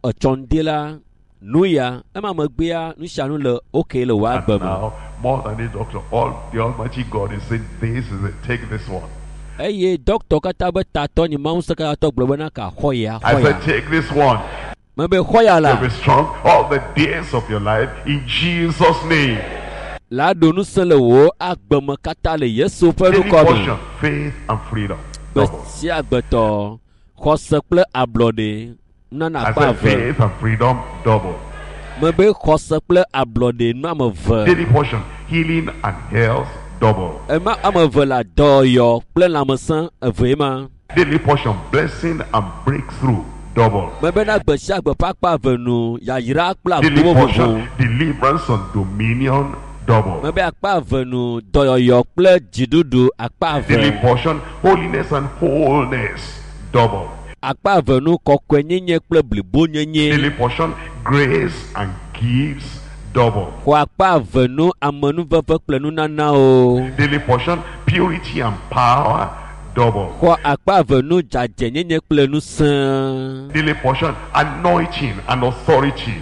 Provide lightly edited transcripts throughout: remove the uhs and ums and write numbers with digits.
Etsɔ ŋdi la nu ya ema megbea nu sia nu le okay le wò And agbe me. now, more than the doctor, all the Almighty God is saying, this is it, take this one. Eye dɔkitɔ katã be tatɔ nyi Mawu ŋusẽkatãtɔ gblɔ bena ka xɔ ya I xɔ said, ya. take this one. Mebe xɔ ya la. You'll be strong all the days of your life in Jesus' name. La ɖo ŋusẽ le wò agbe me katã le Yesu ƒe Daily ŋkɔ me. portion, faith and freedom. Gbe Double. sia gbetɔ xɔse kple ablɔɖe nana I akpa said eve. faith and freedom double. Mebe xɔse kple ablɔɖe nu ame eve. Daily portion, healing and health double. Ema ame eve la dɔyɔ kple lãmesẽ evee ma. Daily portion, blessing and breakthrough double. Mebe na gbe sia gbe ƒe akpa eve nu yayra kple Daily agbowo portion, vovo. deliverance and dominion double. Mebe akpa eve nu dɔyɔyɔ kple dziɖuɖu akpa Daily eve. portion, holiness and wholeness double. Akpa eve nu kɔkɔenyenye kple blibonyenye. Daily portion, grace and gifts double. Xɔ akpa eve nu amenuveve kple nunanawo. Daily portion, purity and power double. Xɔ akpa eve nu dzadzɛnyenye kple ŋusẽ. Daily portion, anointing and authority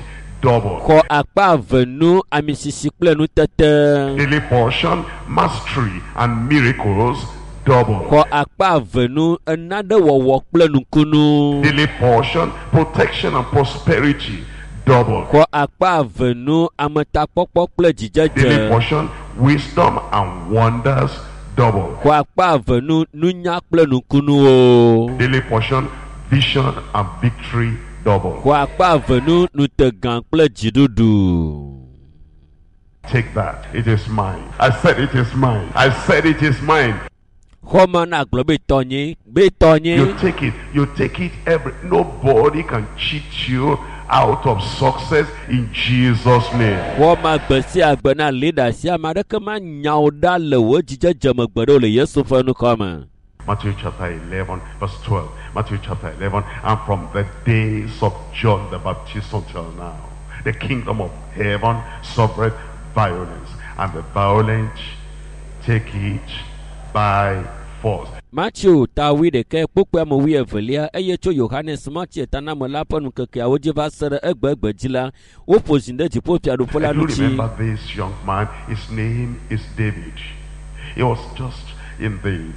double. Xɔ akpa eve nu amisisi kple nutete. Daily portion, mastery and miracles double. Xɔ akpa eve nu enaɖewɔwɔ kple nukunu. Daily portion, protection and prosperity double. Xɔ akpa eve nu ametakpɔkpɔ kple Daily dzidzedze. portion, wisdom and wonders double. Xɔ akpa eve nu nunya kple nukunuwo. Daily portion, vision and victory double. Xɔ akpa eve nu nutegã kple dziɖuɖu. Take that. It is mine. I said it is mine. I said it is mine. Xɔ ma na gblɔ be tɔnye, be tɔnye. You take it. You take it every. Nobody can cheat you out of success in Jesus' name. Xɔ ma gbe sia gbe na leader sia ame aɖeke ma nya wo ɖa le wò dzidzedze me gbe ɖe o le Yesu ƒe ŋkɔ me. Matthew chapter 11, verse 12. Matthew chapter 11. And from the days of John the Baptist until now, the kingdom of heaven suffered violence, and the violent take it by force. Matthew ta wuiɖekɛ kpukpui ame wuievelia eye tso Yohanes Matsi tanamela ƒe ŋkekeawo dzi va se ɖe egbegbe dzi la, woƒo zi ɖe dziƒofiaɖuƒe la I do ŋuti. remember this young man. His name is David. He was just in the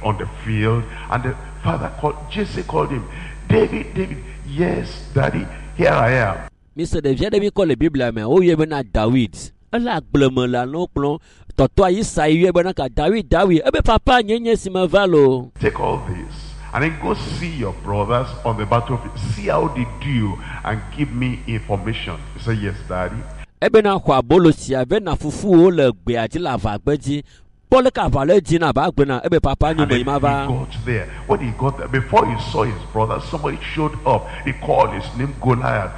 on the field, and the father called Jesse called him, David, David. Yes, Daddy, here I am. Mise ɖevi aɖe mi kɔ le Biblia me, woyɔe bena Dawid. Ele agble me le alẽwo kplɔm. Tɔtɔa Isai yɔe bena ka Dawid, Dawid. Ebe papa nye nye si me va loo. Take all this and then go see your brothers on the battlefield. See how they do and give me information. He said, Yes, Daddy. Ebena xɔ abolo sia ve na fufuwo le gbea dzi le aʋagbe dzi. Kpɔ leke aʋa le dzi na aʋa gbe na ebe papa nyo And me then yi he ma va. got there. When he got there, before he saw his brother, somebody showed up. He called his name Goliath.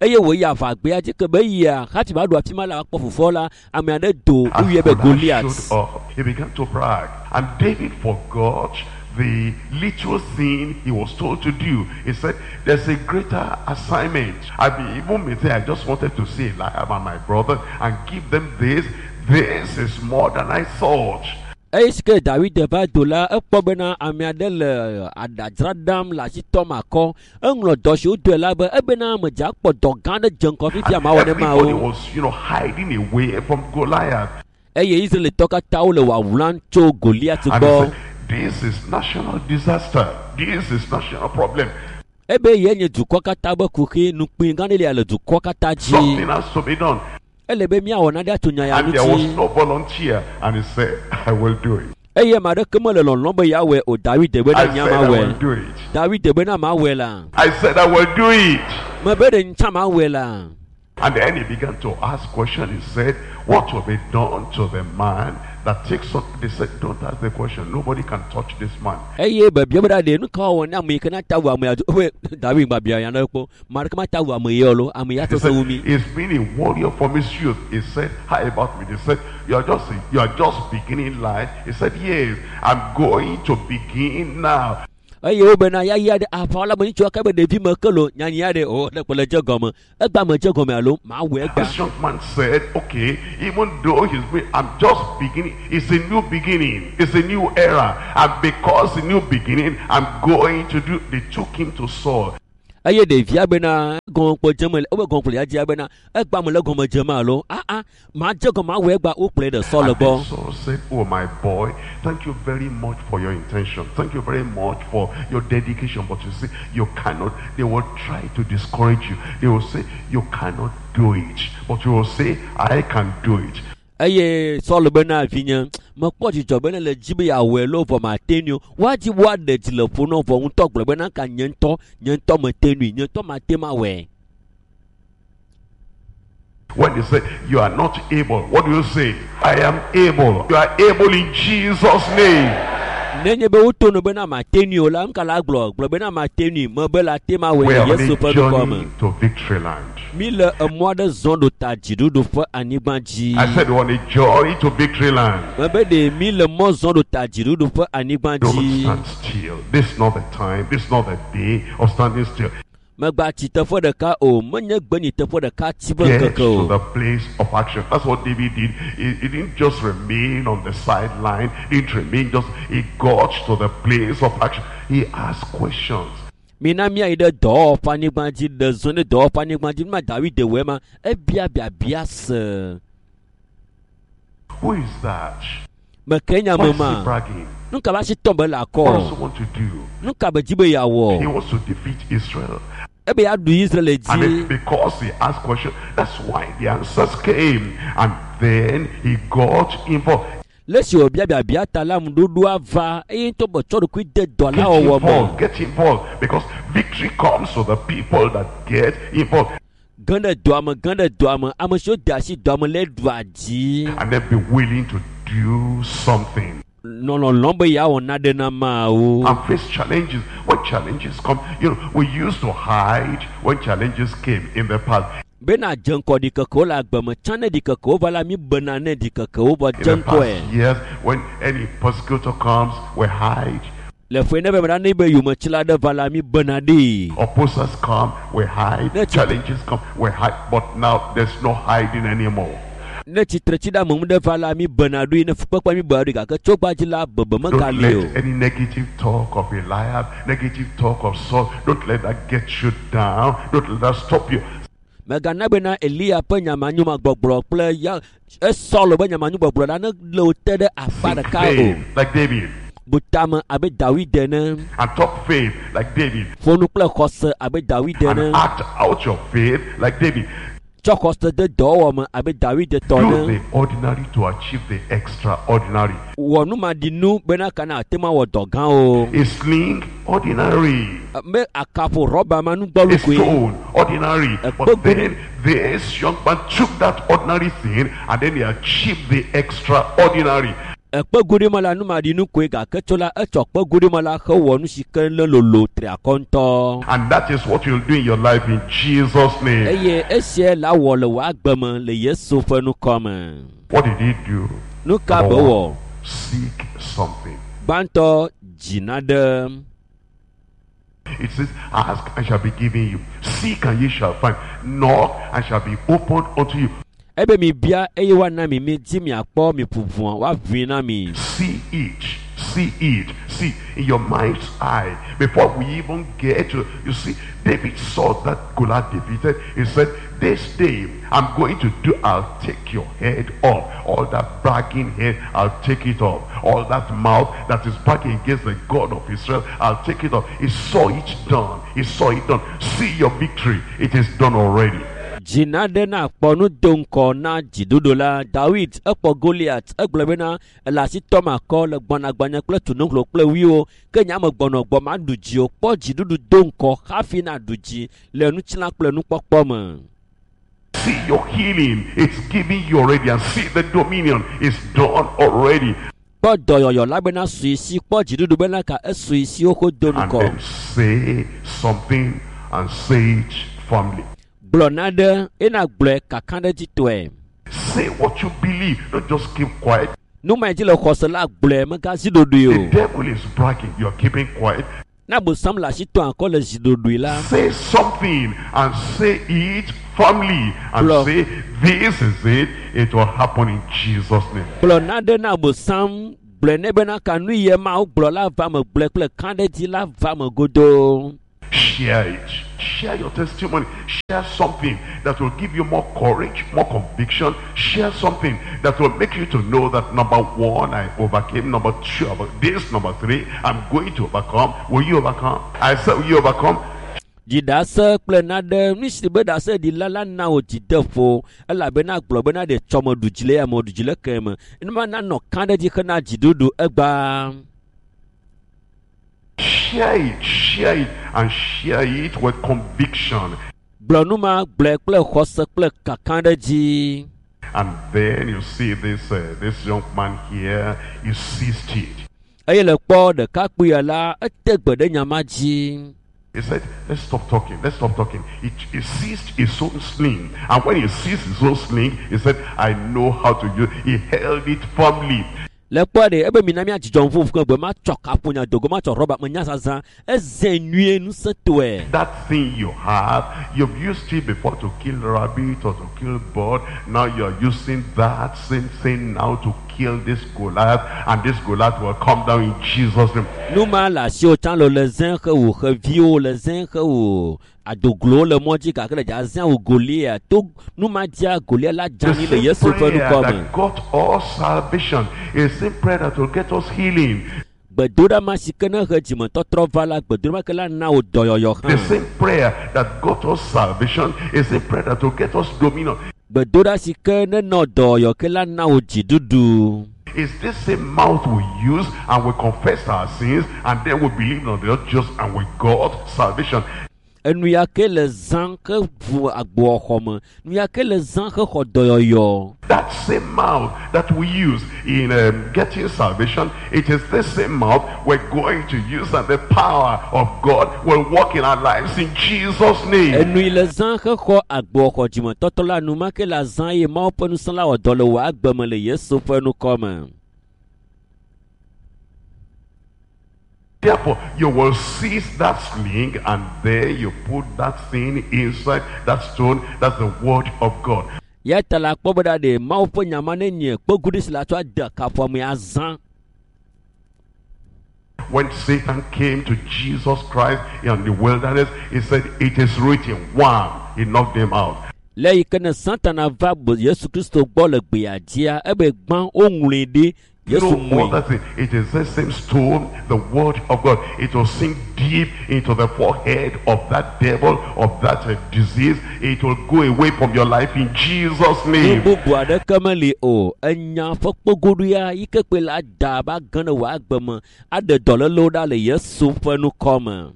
Eye wòyi aʋagbea dzi ke be yia hafi va ɖo afi ma la kpɔ fofoa la ame aɖe do As woyɔe be Goliath Goliath. showed up, he began to brag. And David forgot the little thing he was told to do. He said, there's a greater assignment. I be, even me say, I just wanted to see Eliab and my brother and give them this. This is more than I thought. Eye si ke Dawid va do la ekpɔ bena ame aɖe le aɖadzra ɖam le asi tɔm akɔ. Eŋlɔ dɔ si wodɔe la be ebena medze akpɔ dɔ gã aɖe dze ŋgɔ fifia And mawɔ ne everybody mawo. was, you know, hiding away from Goliath. Eye Israelitɔ katã wole wawlam tso Goliath And he gbɔ. said, this is national disaster. This is national problem. Ebe ye nye dukɔ katã be kuxi nukpui gã ɖe lia le dukɔ katã dzi. Something has to be done. Ele be míawɔ nane atso nya ya And there was ŋuti. no volunteer. And he said, I will do it. Eye ame aɖeke mele lɔlɔ̃m be yeawɔe o. Dawid be I na nya said, I will mawɔe. do it. Dawid be na mawɔe la. I said, I will do it. Mebe ɖe ŋtsã mawɔe la. And then he began to ask questions. He said, what will be done to the man that takes up? They said, don't ask the question. Nobody can touch this man. Eye bebia be ɖa ɖe nu ka wɔwɔ ne ame yi ke na ta wu ame ya dzo. Ebe Dawid gba bia nya ɖe kpɔ. Ame aɖeke mata wu ame ya o lo. Ame ya He sesẽ said, wu mi. he's been a warrior from his youth. He said, how about me? They said, you are just beginning life. He said, yes, I'm going to begin now. Eye wo bena ya ya ɖe aʋawɔla me ŋutsua ke be ɖevi me ke lo nyanyi ya ɖe o ɖe kpe le dze gɔme. Egba me dze gɔme alo mawɔe egba. This young man said, okay, even though he's been, I'm just beginning. It's a new beginning. It's a new era. And because a new beginning, I'm going to do. They took him to Saul. Eye ɖevia bena gɔmekpɔ dzeme le wobe gɔmekpɔ ya dzia bena egba me le gɔme dzem alo aa ma dze gɔme awɔe gba wokplɔe ɖe Saul And gbɔ. then Saul said, Oh, my boy, thank you very much for your intention. Thank you very much for your dedication. But you see, you cannot. They will try to discourage you. They will say, You cannot do it. But you will say, I can do it. Eye Saul bena vinye mekpɔ dzidzɔ bena le dzi be yeawɔe lo vɔ mate nui o. Woadzi be woaɖe dzi le ƒo nɔ vɔ ŋutɔ gblɔ bena ka nye ŋutɔ nye ŋutɔ mete nui nye ŋutɔ mate mawɔe. When they say, You are not able, what do you say? I am able. You are able in Jesus' name. Nenye be woto no bena mate nui o la nuka la gblɔ gblɔ bena mate nui me be la te mawɔe We le are on Yesu a ƒe ŋkɔ me. journey to victory land. Mi le emɔ aɖe zɔm ɖo ta dziɖuɖu ƒe anyigba dzi. I said, We're on a journey to victory land. Mebe ɖe mi le mɔ zɔm ɖo ta dziɖuɖu ƒe anyigba Don't dzi. stand still. This is not the time. This is not the day of standing still. Megba tsi teƒe ɖeka o menye gbenyi teƒe ɖeka tsi be Get ŋkeke to o. the place of action. That's what David did. He didn't just remain on the sideline. He didn't remain just. He got to the place of action. He asked questions. Mina míayi ɖe dɔwɔƒe anyigba dzi ɖe zɔ ɖe dɔwɔƒe anyigba dzi numa David wɔe ma ebia biabia se. Who is that? Meke nya Why me is he ma. bragging? Nuka be asi tɔm be le What does akɔ? he want to do? Nuka be dzi be He yeawɔ? wants to defeat Israel. Ebe yeaɖu Israel And dzi. it, because he asked questions, that's why the answers came. And then he got involved. Le esi wòbia biabia ta la ŋuɖoɖoa va eye ŋutɔ be tsɔ ɖokui de dɔ la Get wɔwɔ me. involved. Get involved. Because victory comes to the people that get involved. Ge ɖe dɔa me, ge ɖe dɔa me. Ame siwo de asi dɔa me le ɖua dzi. And then be willing to do something. Nɔ lɔlɔ̃m be yeawɔ nane na Mawu. And face challenges. When challenges come, you know, we used to hide when challenges came in the past. Bena dze ŋkɔ ɖikekewo le agbe me tsã ne ɖikekewo va la mi bena ne ɖikekewo vɔ In dze the ŋkɔe. past years, when any persecutor comes, we hide. Le ƒe ne be mena ne be yometsila ɖe va la mi bena ɖee. Opposers come, we hide. That's it. Challenges come, we hide. But now there's no hiding anymore. Ne tsitretsiɖeameŋu ɖe va la mi bena ɖoe ne fukpekpe mi bena ɖoe gake tso gbadzi la bebe Don't megali o. let any negative talk of Eliab, negative talk of Saul, don't let that get you down. Don't let that stop you. Megana bena Eliya ƒe nyamanyumagbɔgblɔ kple ya Esɔl ƒe nyamanyugbɔgblɔ la ne le wo te ɖe akpa Think ɖeka o. faith like David Bu tame abe Dawid ene. and talk faith like David Ƒo nu kple xɔse abe Dawid and ene. act out your faith like David. Tsɔ xɔse de dɔwɔwɔ me abe Dawid tɔ Do ene. the ordinary to achieve the extraordinary. Wɔ numaɖinu bena kana ate ŋu awɔ dɔ gãwo. A sling, ordinary. Me akaƒo rɔba ma A nugbɔlu koe. stone, ordinary. A But bug- then this young man took that ordinary thing and then he achieved the extraordinary. Ekpeguɖi me la numaɖinu koe gake tso la etsɔ kpeguɖi me la hewɔ nu si ke le lolo tri akɔ ŋutɔ. And that is what you'll do in your life in Jesus' name. Eye esia la wɔ le wò agbe me le Yesu ƒe ŋkɔ me. What did he do? Nu ka be Number wɔ? one, seek something. Gbãtɔ dzina ɖe. It says, Ask and shall be given you. Seek and ye shall find. Knock and shall be opened unto you. Ebe mi bia eye woana mi mi dzi miakpɔ mi ʋuʋua woaʋui na mi. See it. See it. See in your mind's eye. Before we even get to, you see, David saw that Goliath defeated. He said, This day I'm going to do, I'll take your head off. All that bragging head, I'll take it off. All that mouth that is bragging against the God of Israel, I'll take it off. He saw it done. He saw it done. See your victory. It is done already. Dzina ɖe na kpɔ nu do ŋkɔ na dziɖuɖu la. Dawid ekpɔ Goliat egblɔ bena ele asi tɔm akɔ le gbɔnagbɔnya kple tunuhlo kple wuiwo ke nye ame gbɔnɔ gbɔ maɖu dzi o. Kpɔ dziɖuɖu do ŋkɔ hafi naɖu dzi le nutsila kple nukpɔkpɔ me. See your healing. It's given you already. And see the dominion. It's done already. Kpɔ dɔyɔyɔ la bena sui si kpɔ dziɖuɖu bena ka esui si woxo do And ŋkɔ. then say something and say it firmly. Gblɔ na ɖe ena gblɔe kakaɖedzitɔe. Say what you believe. Don't just keep quiet. Nu ma dzi le xɔse la gblɔe megazi ɖoɖoe The o. devil is bragging. You're keeping quiet. Na bosam le asi tɔm akɔ le zi ɖoɖoe la. Say something and say it firmly. And Bro. say, this is it. It will happen in Jesus' name. Gblɔ na ɖe na bosam gblɔe nɛ bena ka nu ye mawu gblɔ la va me gblɔe kple kãɖedzi la va me godoo. Share it. Share your testimony. Share something that will give you more courage, more conviction. Share something that will make you to know that number one, I overcame. Number two, this. Number three, I'm going to overcome. Will you overcome? I said, will you overcome? Dzidase kple naɖe nu si be ɖase ɖila la na wò dzideƒo elabena gblɔ bena ɖe tsɔme ɖu dzi le ya me ɖu dzi le ke me enuma nanɔ kã ɖe dzi hena dziɖuɖu egbaa. Share it, share it, and share it with conviction. Gblɔ nu ma gblɔe kple xɔse kple kaka ɖe dzi. And then you see this this young man here, he seized it. Eye le kpɔ ɖekakpuia la ete gbe ɖe nya ma dzi. He said, let's stop talking, let's stop talking. He seized his own sling. And when he seized his own sling, he said, I know how to use it. He held it firmly. Le kpɔ ɖe ebe mina mía dzidzɔ ŋu ƒo gbe ma tsɔ kaƒonya dogo ma tsɔ rɔba me nya zazã eze nyuie ŋusẽtɔe. That thing you have, you've used it before to kill rabbit or to kill bird. Now you're using that same thing now to kill this Goliath, and this Goliath will come down in Jesus' name. Nu ma le asiwò tsã le le zẽ he wò xeviwo le zẽ he wò adoglowo le mɔ dzi gake le dza zẽ wò Goliath to nu ma dzia Goliath la dze The anyi le same Yesu ƒe prayer ŋkɔ me. that got us salvation is the same prayer that will get us healing. Gbedoɖa ma si ke ne he dzimetɔtrɔ va la gbedoɖa ma ke la na wò dɔyɔyɔ The hã. same prayer that got us salvation is the prayer that will get us dominion. Gbedoɖa si ke ne nɔ dɔyɔyɔ ke la na wò dziɖuɖu. It's this same mouth we use and we confess our sins and then we believe on the Lord just and we got salvation. Enu ya ke le zã ke ʋu agboxɔ me. Nu ya ke le zã ke xɔ dɔyɔyɔ. That same mouth that we use in getting salvation, it is this same mouth we're going to use, and the power of God will work in our lives in Jesus' name. Enu yi le zã ke xɔ agboxɔ dzimetɔtɔ la nu ma ke le zã ye Mawu ƒe ŋusẽ la wɔ dɔ le wò agbe me le Yesu ƒe ŋkɔ me. Therefore, you will seize that sling and then you put that thing inside that stone. That's the word of God. Ya ta la kpɔ be ɖa ɖe Mawu ƒe nya ma ne nye kpeguɖi si la tsɔ ade kaƒomɛ azã. When Satan came to Jesus Christ in the wilderness, he said, it is written. One, he knocked him out. Le yi ke ne Satana va Yesu Kristo gbɔ le gbea dzia, ebe gbã woŋlɔe ɖi Yesu No mui. other thing. It is the same stone, the word of God. It will sink deep into the forehead of that devil, of that disease. It will go away from your life in Jesus' Nu name. bubu aɖeke meli o. Enya ƒe kpegoɖoea yi ke kpe la da ba ge ne wò agbe me aɖe dɔlélewo ɖa le Yesu ƒe ŋkɔ me.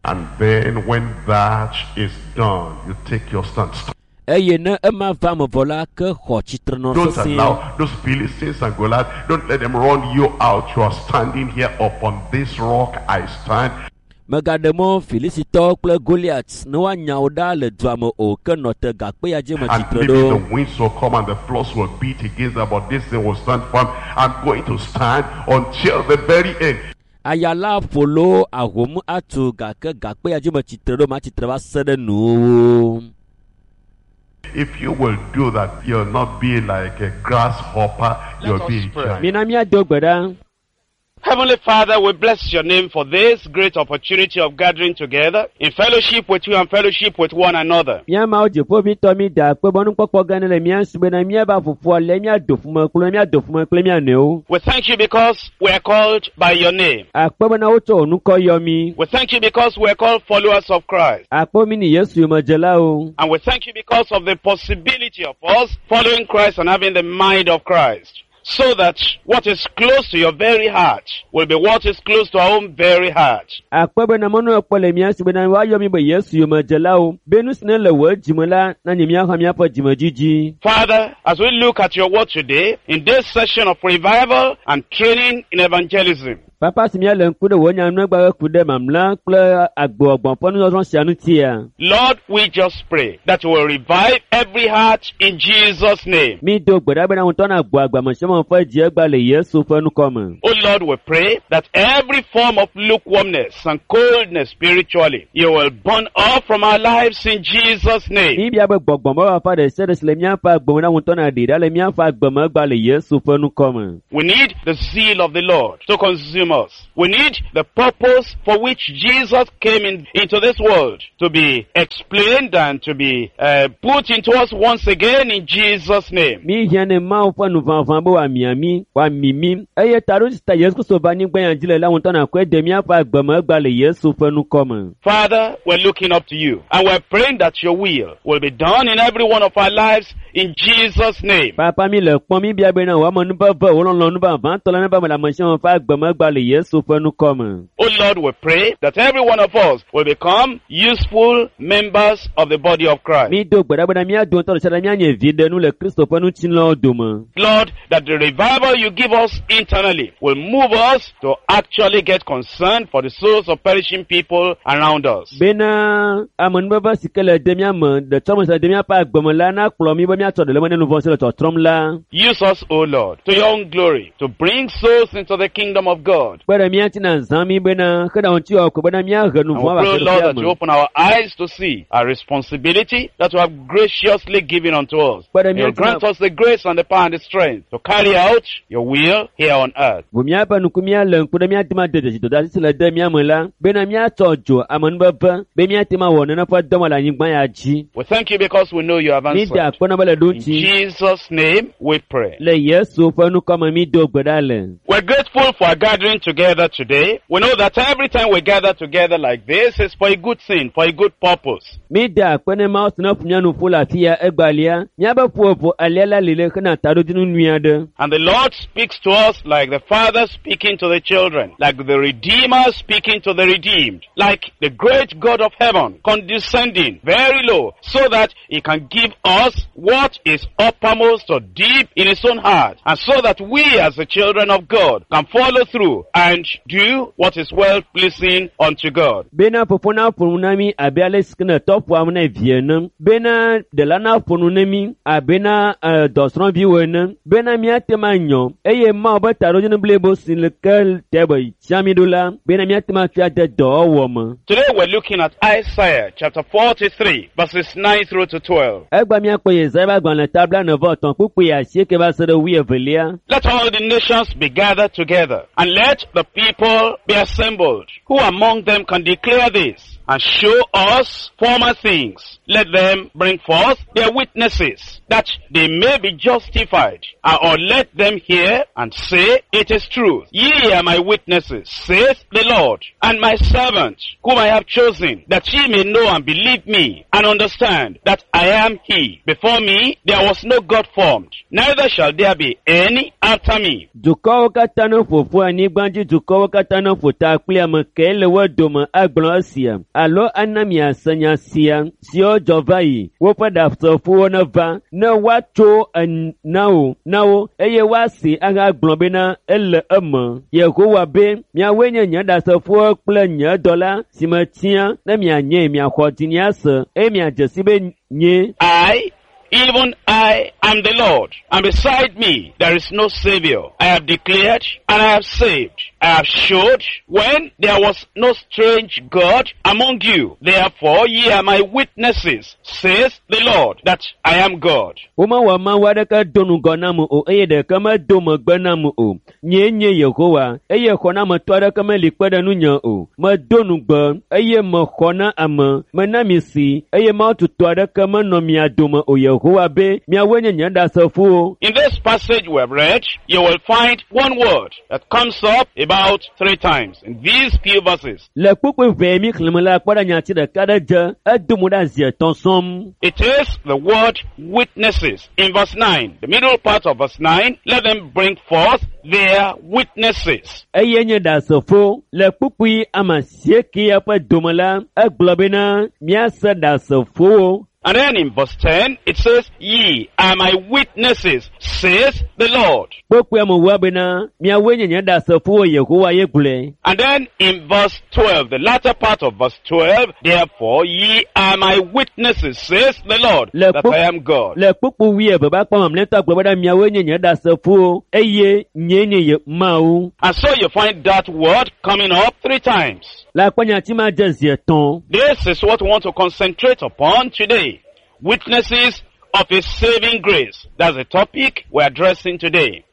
And then when that is done, you take your stand. Eye ne ema va me vɔ la ke xɔ tsitrenɔ Don't sesĩe. allow those Philistines and Goliath, don't let them run you out. You are standing here upon this rock I stand. Megaɖe mɔ Filisitɔwo kple Goliath ne woanya wo ɖa le dua me o ke nɔ te gakpe ya dzi me And tsitre maybe ɖo. the winds will come and the floods will beat against them, but this thing will stand firm. I'm going to stand until the very end. Aya la ƒo lo ahom atu gake gakpe ya dzi me tsitre ɖo ma tsitre va se ɖe nuwuwu. If you will do that, you'll not be like a grasshopper, you'll Let be us a pray. giant. Mina míado gbe ɖa. Heavenly Father, we bless your name for this great opportunity of gathering together in fellowship with you and fellowship with one another. Mía Mawu dziƒoʋĩtɔ mi da akpe be nukpɔkpɔ gã ne le mía si bena míava ƒoƒua le míado ƒome kple míado ƒome kple mía nɔewo. We thank you because we are called by your name. Akpe bena wotsɔ wò ŋkɔ yɔ mí. We thank you because we are called followers of Christ. Akpe mí ni Yesu yomedzelawo. And we thank you because of the possibility of us following Christ and having the mind of Christ. So that what is close to your very heart will be what is close to our own very heart. Akpe bena mɔnukpɔkpɔ le mía si bena woayɔ mí be Yesu yomedzelawo. Be nu si ne le wò dzime la nanye míaxɔ míaƒe dzimedzidzi. Father, as we look at your word today, in this session of revival and training in evangelism, Papa si míale ŋku ɖe wò nyanuegba ku ɖe mamlɛ kple agboɔgbɔn ƒe nusɔsrɔ̃ sia ŋutia. Lord, we just pray that you will revive every heart in Jesus' name. Mi do gbe ɖa bena ŋutɔ na gbɔ agbamesiame ƒe dziegba le Yesu ƒe ŋkɔ me. Oh Lord, we pray that every form of lukewarmness and coldness spiritually, you will burn off from our lives in Jesus' name. Mi bia be gbɔgbɔmefafa ɖe sia ɖe si le míaƒe agbe me na ŋutɔ na ɖi ɖa le míaƒe agbemegba le Yesu ƒe ŋkɔ me. We need the zeal of the Lord to consume consume us. We need the purpose for which Jesus came into this world to be explained and to be put into us once again in Jesus' name. Mi hiã ne Mawu ƒe nuʋaʋã be wòamia mí, wòami mí eye taɖo si ta Yesu Kristo va anyigba ya dzi le la ŋutɔ nakɔe de míaƒe agbe me egba le Yesu ƒe ŋkɔ me. Father, we're looking up to you and we're praying that your will will be done in every one of our lives in Jesus' name. Papa mi le kpɔm mi bia bena wò amenuveve wò lɔlɔ̃nu vavãtɔ la neva me le ame sia ame ƒe agbe me egba le Yesu ƒe ŋkɔ me. Oh Lord, we pray that every one of us will become useful members of the body of Christ. Mi do gbe ɖa bena mía dometɔ ɖe sia ɖe míanye viɖenu le Kristo ƒe ŋutilãwo dome. Lord, that the revival you give us internally will move us to actually get concerned for the souls of perishing people around us. Bena amenuveve si ke le de mía me, ɖetsɔme si le de míaƒe agbe me la nakplɔ mí be míatsɔ ɖe le eme ne nu vɔ̃ si le tsɔtrɔm la. Use us, O Lord, to your own glory, to bring souls into the kingdom of God. Kpe ɖe mía ŋuti na zã mí bena xe ɖe ŋuti wɔ ko bena míahe nu And vɔ̃ we va pray, Lord, that fiaɖuƒea you me. open our eyes to see our responsibility that you have graciously given unto us. Kpe ɖe You mía ŋuti na grant us the grace and the power and the strength to carry out your will here on earth. Ʋu míaƒe ŋku míalé ŋku ɖe míate ŋu ade dzesi dɔdeasi si le de mía me la bena míatsɔ dzo amenuveve be míate ŋu awɔ nene ƒe dɔme le anyigba ya dzi. We thank you because we know you have Mi da answered. akpe na be le ɖo In ŋuti. Jesus' name we pray. Le Yesu ƒe ŋkɔ me mi do gbe ɖa le. We're grateful for our gathering together today. We know that every time we gather together like this, it's for a good thing, for a good purpose. Mi da akpe ne Mawu si ne ƒo mía nu ƒu le afi ya egbalia. Míabe ƒoƒo alia la li le hena taɖodzinu nyui aɖe. And the Lord speaks to us like the Father speaking to the children, like the Redeemer speaking to the redeemed, like the great God of heaven condescending very low so that he can give us what is uppermost or deep in his own heart, and so that we as the children of God can follow through and do what is well pleasing unto God. Bena fofo na ƒo nu na mí abe ale si ke ne tɔ ƒoam na vi ene. Bena ɖela na ƒo nu na mí abe na dɔsrɔ̃viwo ene. Bena míate ŋu anyɔ eye Mawu be taɖodzinu blibo si le ke te be tia mí ɖo la bena míate ŋu atsɔe ade dɔwɔwɔ me. Today we're looking at Isaiah chapter 43 verses 9 through to 12. Egba míakpɔ Yesaya ƒe agbalẽ ta 45 kpukpui 8 va se ɖe 12. Let all the nations be gathered together, and let the people be assembled. Who among them can declare this and show us former things? Let them bring forth their witnesses, that they may be justified. Or let them hear and say, it is truth. Ye are my witnesses, saith the Lord, and my servant, whom I have chosen, that ye may know and believe me, and understand that I am he. Before me there was no God formed, neither shall there be any after me. Dukɔwo katã ne ƒo ƒu anyigba dzi dukɔwo katã ne ƒo ta kpli ame kae le wo dome agblɔ esia alo ana miase nya sia siwo dzɔ va yi woƒe ɖasefowo neva ne woatso na wo na wo eye woasi ahagblɔ bena ele eme. Yehowa be miawoe nye nye ɖasefowo kple nye dɔla si metia ne mianye miaxɔ dzinye ase eye miadze si be nye I, even I, am the Lord, and beside me there is no Savior. I have declared and I have saved. I have showed when there was no strange God among you. Therefore ye are my witnesses, says the Lord, that I am God. Womewɔ Mawu aɖeke do ŋgɔ nam o eye ɖeke medo megbe nam o. Nyee nye Yehowa eye xɔnametɔ aɖeke meli kpe ɖe ŋunye o. Medo ŋugbe eye mexɔ na ame. Mena mi si eye Mawu tutɔ aɖeke menɔ mia dome o. Yehowa be miawoe nye nye ɖasefowo. In this passage we have read, you will find one word that comes up about 3 times in these few verses. Le kpukpui ʋɛ mi xlẽme la kpɔ ɖe nyati ɖeka ɖe dze edo mo ɖe zi etɔ̃ sɔm. It is the word witnesses. In verse 9, the middle part of verse 9, let them bring forth their witnesses. Eye nye ɖasefo le kpukpui ame asiekea ƒe dome la egblɔ bena míase ɖasefowo. And then in verse 10, it says, Ye are my witnesses, says the Lord. Kpukpui ame wua bena miawoe nye nye ɖasefowo Yehowa ye gblɔe. And then in verse 12, the latter part of verse 12, therefore ye are my witnesses, says the Lord, Le that kpu- I am God. Le kpukpui wuieve ƒe akpa mamlɛtɔ gblɔ bena miawoe nye nye ɖasefowo eye nyee nye Ye Mawu. And so you find that word coming up 3 times. Le akpa nyati ma dze zi etɔ̃. This is what we want to concentrate upon today. Witnesses of His saving grace. That's the topic we're addressing today.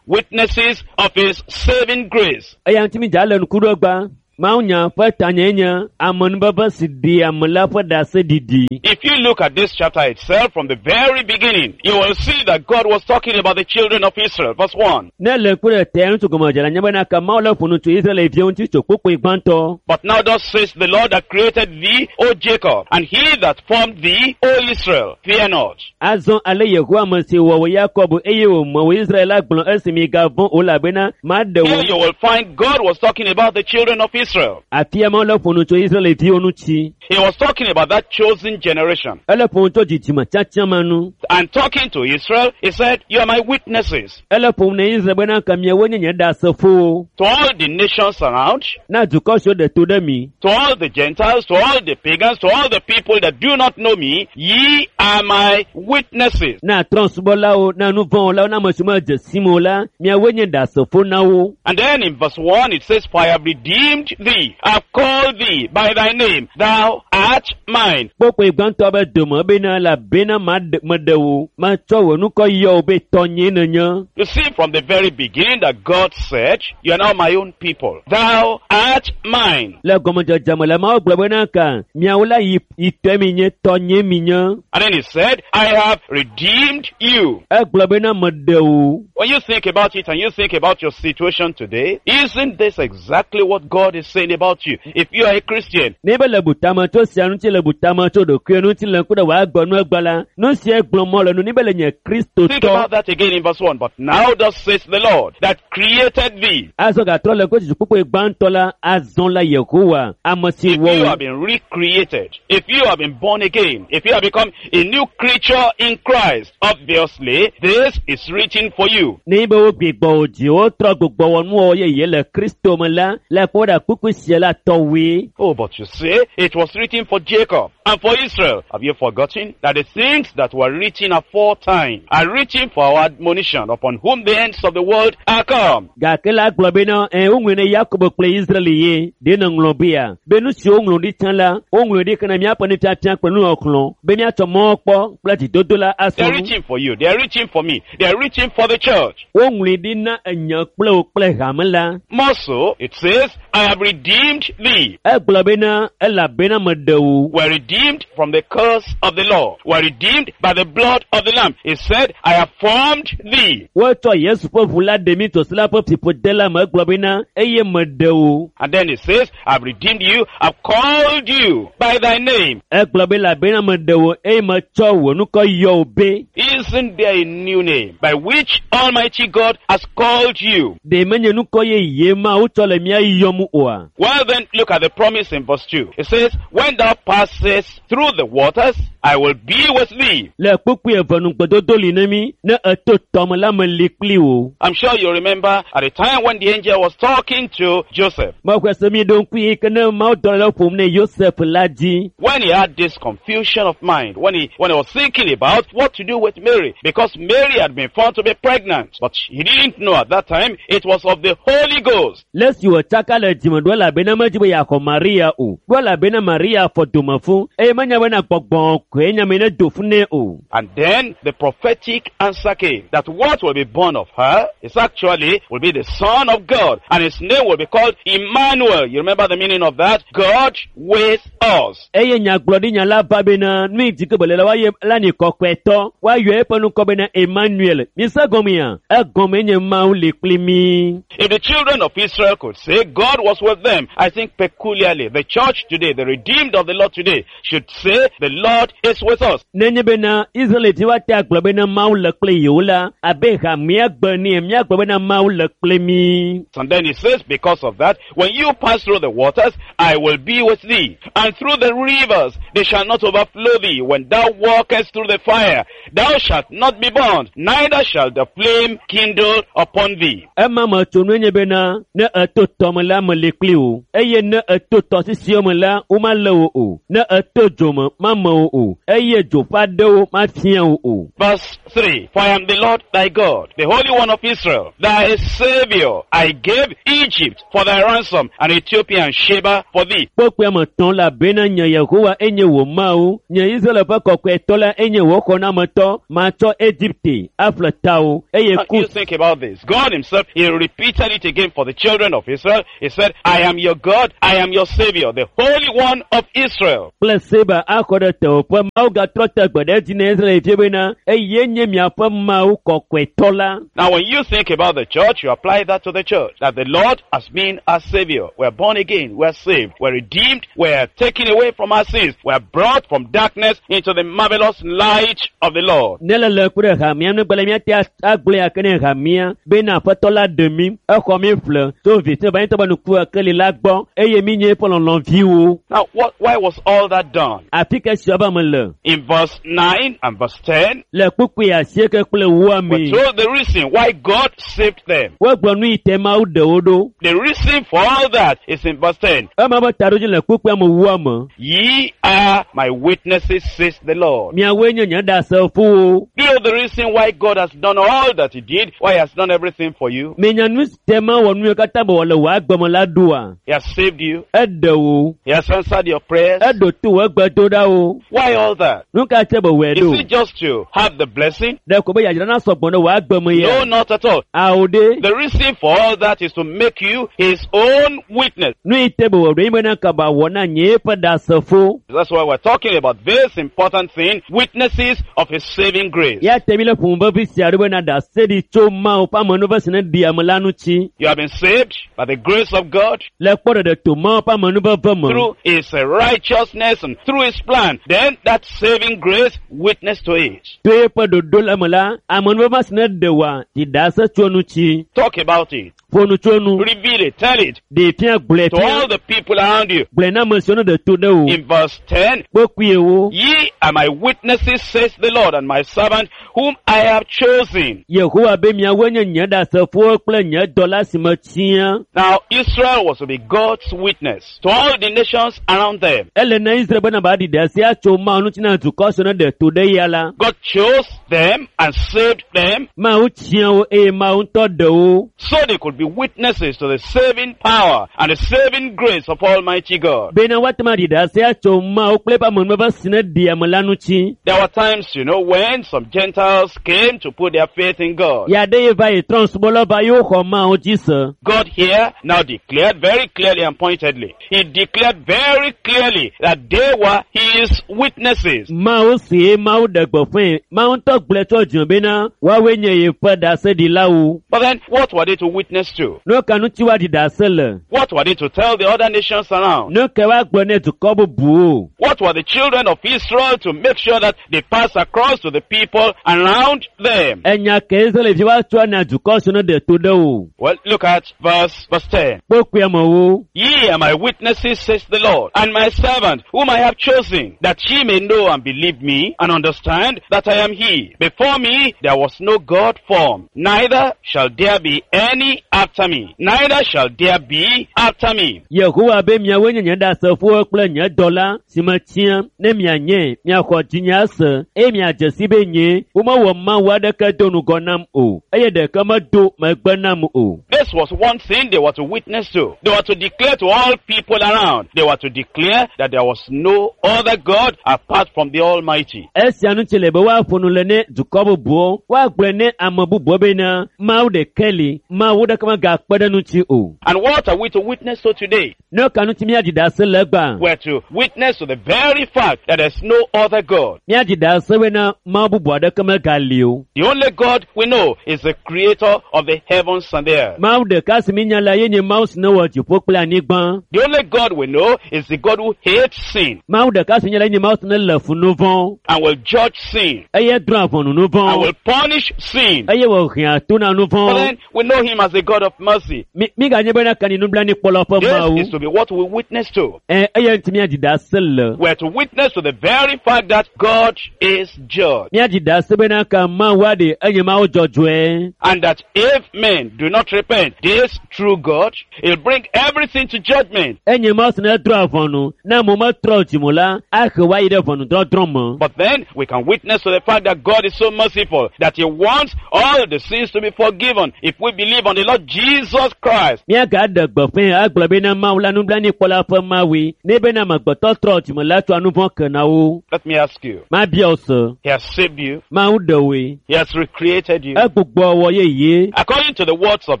Witnesses of His Saving Grace. Eya ŋuti mi dza le ŋku ɖo gba. Mawunya ƒe tanye nye amenuveve si ɖi ame la ƒe ɖaseɖiɖi. If you look at this chapter itself from the very beginning, you will see that God was talking about the children of Israel. Verse 1. Ne le ŋku ɖe tea ŋutsu gɔmedzela nye bena ke Mawu le ƒo nu tso Israelviwo ŋuti tso kpukpui gbãtɔ. But now thus says the Lord that created thee, O Jacob, and he that formed thee, O Israel, fear not. Azɔ ale Yehowa ame si wɔ wò Yakob eye wòme wò Israel la gblɔ esi migavɔ̃ o elabena maɖe Here wò. you will find God was talking about the children of Israel. Afia Mawu le ƒo nu tso Israelviwo ŋuti. He was talking about that chosen generation. Ele ƒo nu tso dzidzime tiatia ma nu. And talking to Israel, he said, You are my witnesses. Ele ƒo nu na Israel bena ke miawoe nye nye ɖasefowo. To all the nations around, Na dukɔ siwo ɖe to ɖe mi. to all the Gentiles, to all the pagans, to all the people that do not know me, ye are my witnesses. Na trɔ̃subɔlawo, na nuvɔ̃wɔlawo, na ame siwo medze sim o la, miawoe nye ɖasefo na wo. And then in verse 1 it says, For I have redeemed thee, I have called thee by thy name, thou art mine. Kpokpoe gbãtɔ be dome bena elabena maɖe meɖe wò, matsɔ wò ŋkɔ yɔ wò be tɔnyee nènye. You see from the very beginning that God said, You are now my own people. Thou art mine. Le gɔmedzedze me le Mawu gblɔ bena ka miawo la yi yi tɔe mi nye, tɔnyee mi nye. And then he said, I have redeemed you. Egblɔ bena meɖe wò. When you think about it and you think about your situation today, isn't this exactly what God is saying about you? If you are a Christian, Ne be le butame tso sia ŋuti le butame tso ɖokuiwo ŋuti le ŋku ɖe wòagblɔ nu egbe la, nu sia gblɔm mɔ le nu ni be le nye think Kristotɔ. about that again in verse 1. But now thus says the Lord that created thee. Azɔ gatrɔ le ŋku kpukpui gbãtɔ la, azɔ la Yehowa, ame si If wɔ you wò. have been recreated, if you have been born again, if you have become a new creature in Christ, obviously this is written for you. Ne be wogbigbɔ wò dzi, wotrɔ gbugbɔ wɔ nuwɔwɔ yeye le Kristo me la, le kpɔ ɖa kpukpui sia la tɔwoe. Oh, but you say it was written for Jacob and for Israel. Have you forgotten that the things that were written aforetime are written for our admonition, upon whom the ends of the world are come? Gake la gblɔ bena ɛ woŋlɔe ne Yakob kple Israel ye ɖe nèŋlɔ bea be nu siwo woŋlɔ ɖi tsã la woŋlɔe ɖi kena míaƒe nufiafia kple nuxɔxlɔ̃ be míatsɔ mɔkpɔ kple dzidodo la They asɔ are nu. written for you. They are written for me. They are written for the church. Woŋlɔe ɖi na enye kple wò kple hame la. More so, it says, I have redeemed thee. Egblɔ bena elabena meɖe wò. Were redeemed from the curse of the law. Were redeemed by the blood of the Lamb. It said, I have formed thee. Wotsɔ Yesu ƒe ʋu la ɖe mí tso se la ƒe fiƒode la me. Egblɔ bena eye meɖe wò. And then it says, I've redeemed you. I've called you by thy name. Egblɔ be elabena meɖe wò eye metsɔ wò ŋkɔ yɔ wò be. Isn't there a new name by which Almighty God has called you? Ɖe menye ŋkɔ yeye Mawu tsɔ le mía yɔm oa? Well then, look at the promise in verse 2. It says, When thou passest through the waters, I will be with thee. Le kpukpui eve nugbedodo li na mí ne eto tɔme la meli kpli wò. I'm sure you remember at the time when the angel was talking to Joseph. Mexɔe se mi ɖo ŋku yi ke ne Mawudɔla la ƒom ne Yosef la dzi. When he had this confusion of mind, when he was thinking about what to do with Mary, because Mary had been found to be pregnant, but he didn't know at that time it was of the Holy Ghost. Le esi wòtsaka le dzime ɖo elabena medzi be yeaxɔ Maria o. Ɖo elabena Maria fɔ dome fũ eye menya bena gbɔgbɔ koe nya me ne do fũ nɛ o. And then the prophetic answer came that what will be born of her is actually will be the Son of God, and his name will be called Emmanuel. You remember the meaning of that? God with us. Eye nyagblɔɖinya la va bena nu yi dzi ke bele la woaye la ni kɔkɔetɔ woayɔ eƒe ŋkɔ bena Emmanuel. Mise gɔmea? Egɔme nye Mawu li kpli mí. If the children of Israel could say God was with them, I think peculiarly the church today, the redeemed of the Lord today, should say the Lord is with us. Nenye bena Israelvi woate agblɔ bena Mawu le kple yewo la, abe ha míagbe nɛ míagblɔ bena Mawu le kple mí. And then he says, because of that, when you pass through the waters, I will be with thee. And through the rivers, they shall not overflow thee. When thou walkest through the fire, thou shalt not be burned, neither shall the flame kindle upon thee. Ema me tsonue nye bena ne eto tɔme la meli kpli wò eye ne eto tɔsisiwo me la womalé wò o ne eto dzo me mame wò o eye dzo ƒe aɖewo mafia wò o. Verse 3. For I am the Lord thy God, the Holy One of Israel, thy Savior. I gave Egypt for thy ransom, and Ethiopia and Sheba for thee. Kpokpoe me tɔn la bena nye Yehowa enye wò Mawu, nye Israel ƒe kɔkɔetɔ la enye wò xɔnametɔ, matsɔ Egipte aƒle tawò eye Now, you Kus think about this. God himself, he repeated it again for the children of Israel. He said, I am your God, I am your Savior, the Holy One of Israel. Kple Seba axɔ ɖe tewòƒe. Mawu gatrɔ te gbe ɖe edzi na Israelviwo bena eye nye miaƒe Mawu kɔkɔetɔ la. Now, when you think about the church, you apply that to the church. That the Lord has been our Savior. We're born again. We're saved. We're redeemed. We're taken away from our sins. We're brought from darkness into the marvelous light of the Lord. Ne le le ku ɖe hamea nu gbalẽ míate agblɔe ake ne hamea bena aƒetɔ la ɖe mí, exɔ mí ƒle tso viviti me va be nuku keli la gbɔ eye mí nye eƒe lɔlɔ̃viwo. Now, why was all that done? Afi ke sia be me le In verse 9 and verse 10, le kpukpui asieke kple ewoa we're me. told the reason why God saved them. Wogblɔ nu yi te Mawu ɖe wo ɖo. The reason for all that is in verse 10. Ema be taɖodzi le kpukpuia me wua me. Ye are my witnesses, says the Lord. Miawoe nye nye ɖasefowo. Do you know the reason why God has done all that He did? Why He has done everything for you? Minya nu si te mewɔ nu yiwo katã be wòle wò agbe me la ɖoa? He has saved you. Eɖe wò. He has answered your prayers. Eɖo to wò egbedoɖawo. Why all that? Nu ka tse be wòe Is ɖo? it just to have the blessing? Ɖe ko be yadzra na sɔgbɔ ɖe wò agbe me No, ya? not at all. Awo ɖe. The reason for all that is to make you His own witness. Nu yi te be wòɖo ye bena kaba wɔ na nye eƒe ɖasefo. That's why we're talking about this important thing, witnesses of His saving grace. Ya te mi le ƒome vevi sia ɖo bena ɖase ɖi tso Mawu ƒe amenuveve si ne ɖi ame la ŋuti. You have been saved by the grace of God Le kpɔ ɖeɖe to Mawu ƒe amenuveve me. through His righteousness and through His plan. Then that saving grace, witness to it. To eƒe ɖoɖo le me la, amenuveve si ne ɖe wòa, ɖi ɖase tso eŋuti. Talk about it. Ƒo nu tso enu. Reveal it. Tell it Ɖee fia gblɔe to all fia. the people around you. Gblɔe na ame siwo ne ɖe to ɖe wò. In verse 10, Kpokpuiewo. Ye are my witnesses, says the Lord, and my servant whom I have chosen. Yehowa be miawoe nye nye ɖasefowo kple nye dɔla si metia. Now, Israel was to be God's witness to all the nations around them. Ele na Israel bena ba ɖi ɖase atso Mawu ŋuti na dukɔ siwo ne ɖe to ɖe ya la. God chose them and saved them Mawu tia wo eye Mawu ŋutɔ ɖe wo. so they could be witnesses to the saving power and the saving grace of Almighty God. Bena woate ŋu aɖi ɖase atso Mawu kple eƒe amenuveve si ne ɖi ame la ŋuti. There were times, you know, when some Gentiles came to put their faith in God. Ya ɖe ye va yi trɔ̃subɔlawo va ye woxɔ Mawu dzi se. God here now declared very clearly and pointedly. He declared very clearly that they were his witnesses. Mawu si ye Mawu ɖe gbeƒãe. Mawu ŋutɔ gblɔe tso dzime bena woawoe nye yeƒe ɖaseɖilawo. But then, what were they to witness to? Nu ka ŋuti woaɖi ɖase le? What were they to tell the other nations around? Nu ka woagblɔ ne dukɔ bubuwo? What were the children of Israel to make sure that they pass across to the people around them? Enya ke Israelvi woatsɔ na dukɔ siwo ne ɖe to ɖe o. Well, look at verse 10. Kpokpuia mewo. Ye are my witnesses, says the Lord, and my servant, whom I have chosen, that ye may know and believe me, and understand that I am he. Before me there was no God formed, neither shall there be any after me. Neither shall there be after me. Yehowa be miawoe nye nye ɖasefowo kple nye dɔla si metia ne mianye miaxɔ dzinye ase eye miadze si be nye womewɔ Mawu aɖeke do ŋgɔ nam o eye ɖeke medo megbe nam o. This was one thing they were to witness to. They were to declare to all people around. They were to declare that there was no other God apart from the Almighty. Esia ŋuti le be woaƒo nu le ne dukɔ bubuwo, woagblɔe ne ame bubuwo bena Mawu ɖeke li, Mawu ɖeke megakpe ɖe ŋuti o. And what are we to witness to today? Ne ka ŋuti míaɖi ɖase le egbea? We're to witness to the very fact that there's no other God. Míaɖi ɖase bena Mawu bubu aɖeke megali o. The only God we know is the creator of the heavens and the earth. Mawu ɖeka si míenya la ye nye Mawu si ne wɔ dziƒo kple anyigba. The only God we know is the God who hates sin Mawu ɖeka si míenya la ye nye Mawu si ne le fu nu vɔ̃ and will judge sin eye drɔ̃a ʋɔnu nu and vɔ̃ will punish sin. eye wòhea to na nu But vɔ̃. then we know him as a God of mercy. Mi míganye bena kani nublanuikpɔlawo ƒe This Mawu. is to be what we witness to. Ɛ eye ŋuti míaɖi ɖase le. We're to witness to the very fact fact that God is judge. Míadzi ɖase bena ka Mawu aɖe enye Mawu dzɔdzɔe. And that if men do not repent, this true God, he'll bring everything to judgment. Enye Mawu si ne drɔ̃a ʋɔnu. Ne amewo metrɔ dzime o la, ahe wo ayi ɖe ʋɔnudɔdrɔ̃ me. But then we can witness to the fact that God is so merciful that he wants all the sins to be forgiven if we believe on the Lord Jesus Christ. Míagaɖe gbeƒãe agblɔ bena Mawu la nublanuikpɔla ƒe Mawue. Ne bena amegbetɔ trɔ dzime la tsɔa nu vɔ̃ kena wo. Let me ask you. Mabia wò se. He has saved you. Mawu ɖe wòe. He has recreated you. Egbugbɔ wɔ yeye. According to the words of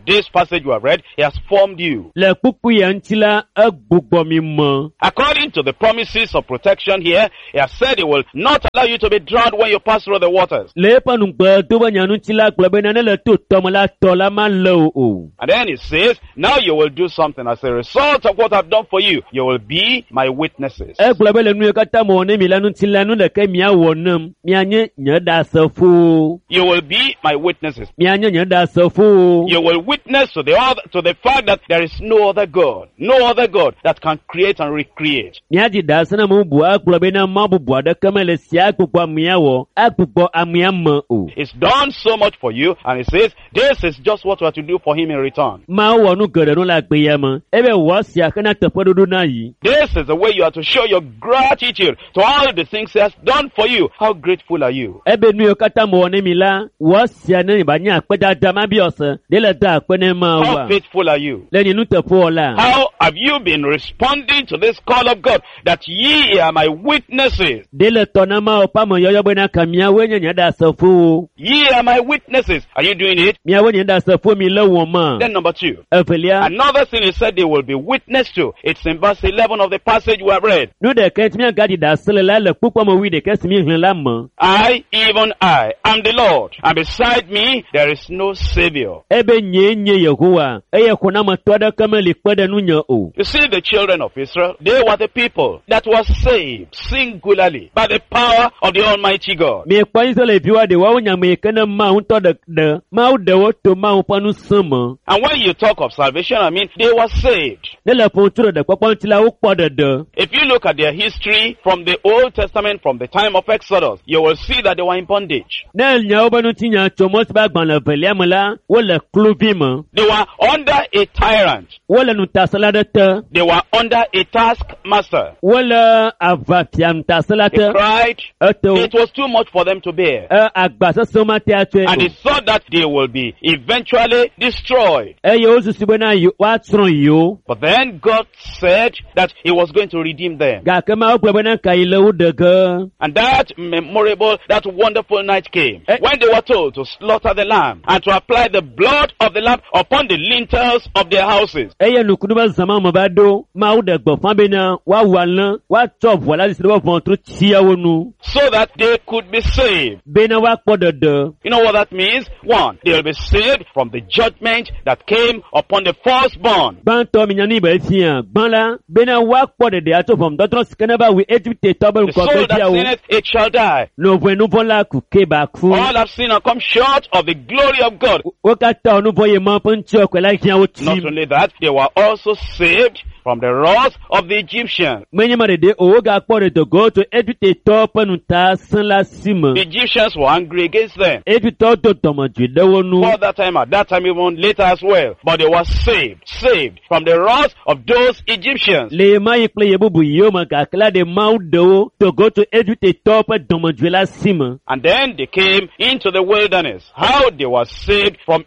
this passage you have read, he has formed you. Le kpukpui ya ŋuti la, egbugbɔ mi me. According to the promises of protection here, he has said he will not allow you to be drowned when you pass through the waters. Le eƒe nugbe do be nya ŋuti la gblɔ bena ne le to tɔme la tɔ la malé wò o. And then he says, now you will do something as a result of what I've done for you. You will be my witnesses. Egblɔ be le nu yiwo katã mewɔ ne mi la ŋuti la, nu ɖeke miawɔ nem. Mianye nye ɖasefowo. You will be my witnesses. Mianye nye ɖasefowo. You will witness to the other, to the fact that there is no other God, no other God that can create and recreate. Míadzi ɖase na ame bubu agblɔ bena Mawu bubu aɖeke mele si agbugbɔ amea wɔ, agbugbɔ amea me o. He's done so much for you, and he says, this is just what we are to do for him in return. Mawu wɔ nu geɖe nu le agbe ya me. Ebe wɔ sia hena teƒeɖoɖo na yi. This is the way you are to show your gratitude to all the things he has done for you. How grateful are you? Ebe nu yiwo katã mewɔ ne mi la, wɔ sia ne ba nye akpedada mabiɔ se, ɖe le da akpe ne How Mawua. faithful are you? Le nye nuteƒewɔla. How have you been responding to this call of God that ye are my witnesses? Ɖe le tɔ na Mawu ƒe ameyɔyɔ bena ka miawoe nye nye ɖasefowo. Ye are my witnesses. Are you doing it? Miawoe nye ɖasefo mi le wɔm ma. Then number two. Evelia, Another thing he said they will be witness to. It's in verse 11 of the passage we have read. nu ɖeka ŋuti míagadzi ɖase le la le kpukpɔ me wui ɖeka si míexlẽ la me. I, even I, am the Lord, and beside me there is no savior. Ebe nyee nye Yehowa eye xɔnametɔ aɖeke meli kpe ɖe nunye o. You see, the children of Israel, they were the people that were saved singularly by the power of the Almighty God. Miekpɔ Israelviwoa ɖe woawo nya me yi ke ne Mawu ŋutɔ ɖe ɖe Mawu ɖe wo to Mawu ƒe ŋusẽ me. And when you talk of salvation, I mean, they were saved. Ne le ƒo tso ɖeɖekpɔkpɔ ŋuti la, wokpɔ ɖeɖe. If you look at their history from the Old Testament, from the time of Exodus, you will see that they were in bondage. Ne nya wobe ŋutinya tso Mose ƒe agbalẽ evelia me la, wole kluvi me. They were under a tyrant. Wole nutasela ɖe te. They were under a taskmaster. Wole aʋafia nutasela They te. cried. Ete wo. It was too much for them to bear. E agba sesẽ mate atsɔe And o. they thought that they will be eventually destroyed. Eye wosusu bena woatsrɔ̃ yewo. But then God said that He was going to redeem them. Gake Mawu gblɔ bena ka yi le wo ɖe ge. And that memorable, that wonderful night came Eh. when they were told to slaughter the lamb and to apply the blood of the lamb upon the lintels of their houses. Eye nukunu be zãma me va ɖo, Mawu ɖe gbeƒã bena woawu alẽ, woatsɔ ʋua la zisi ɖe woƒe ʋɔtru tsiawo nu So that they could be saved. bena woakpɔ ɖeɖe. You know what that means? One, they will be saved from the judgment that came upon the firstborn. Gbãtɔ minya nu yi be fia, gbã la, bena woakpɔ ɖeɖe atso ʋɔnudɔdrɔ̃ si ke ne va wui Egiptetɔ be The soul that ŋgɔgbeviawo. sinneth, it shall die. Nɔvɔe nuvɔ̃ la ku ke ba ku. All have sinned and come short of the glory of God. Wo katã wɔ nuvɔ̃ yi Mawu ƒe ŋutiɔkɔe la hiã wo Not tsim. only that, they were also saved from the wrath of the Egyptians. Menye ma ɖeɖe o, wogakpɔ ɖedogo tso Egiptetɔwo ƒe nutasẽ la si me. The Egyptians were angry against them. Egiptetɔwo do dɔmedzoe ɖe wo nu. For that time, at that time, even later as well. But they were saved, saved from the wrath of those Egyptians. Le ɣe ma ɣi kple ɣe bubu yiwo me gake la ɖe Mawu ɖe wo dogo tso Egiptetɔwo ƒe dɔmedzoe la si me. And then they came into the wilderness. How they were saved from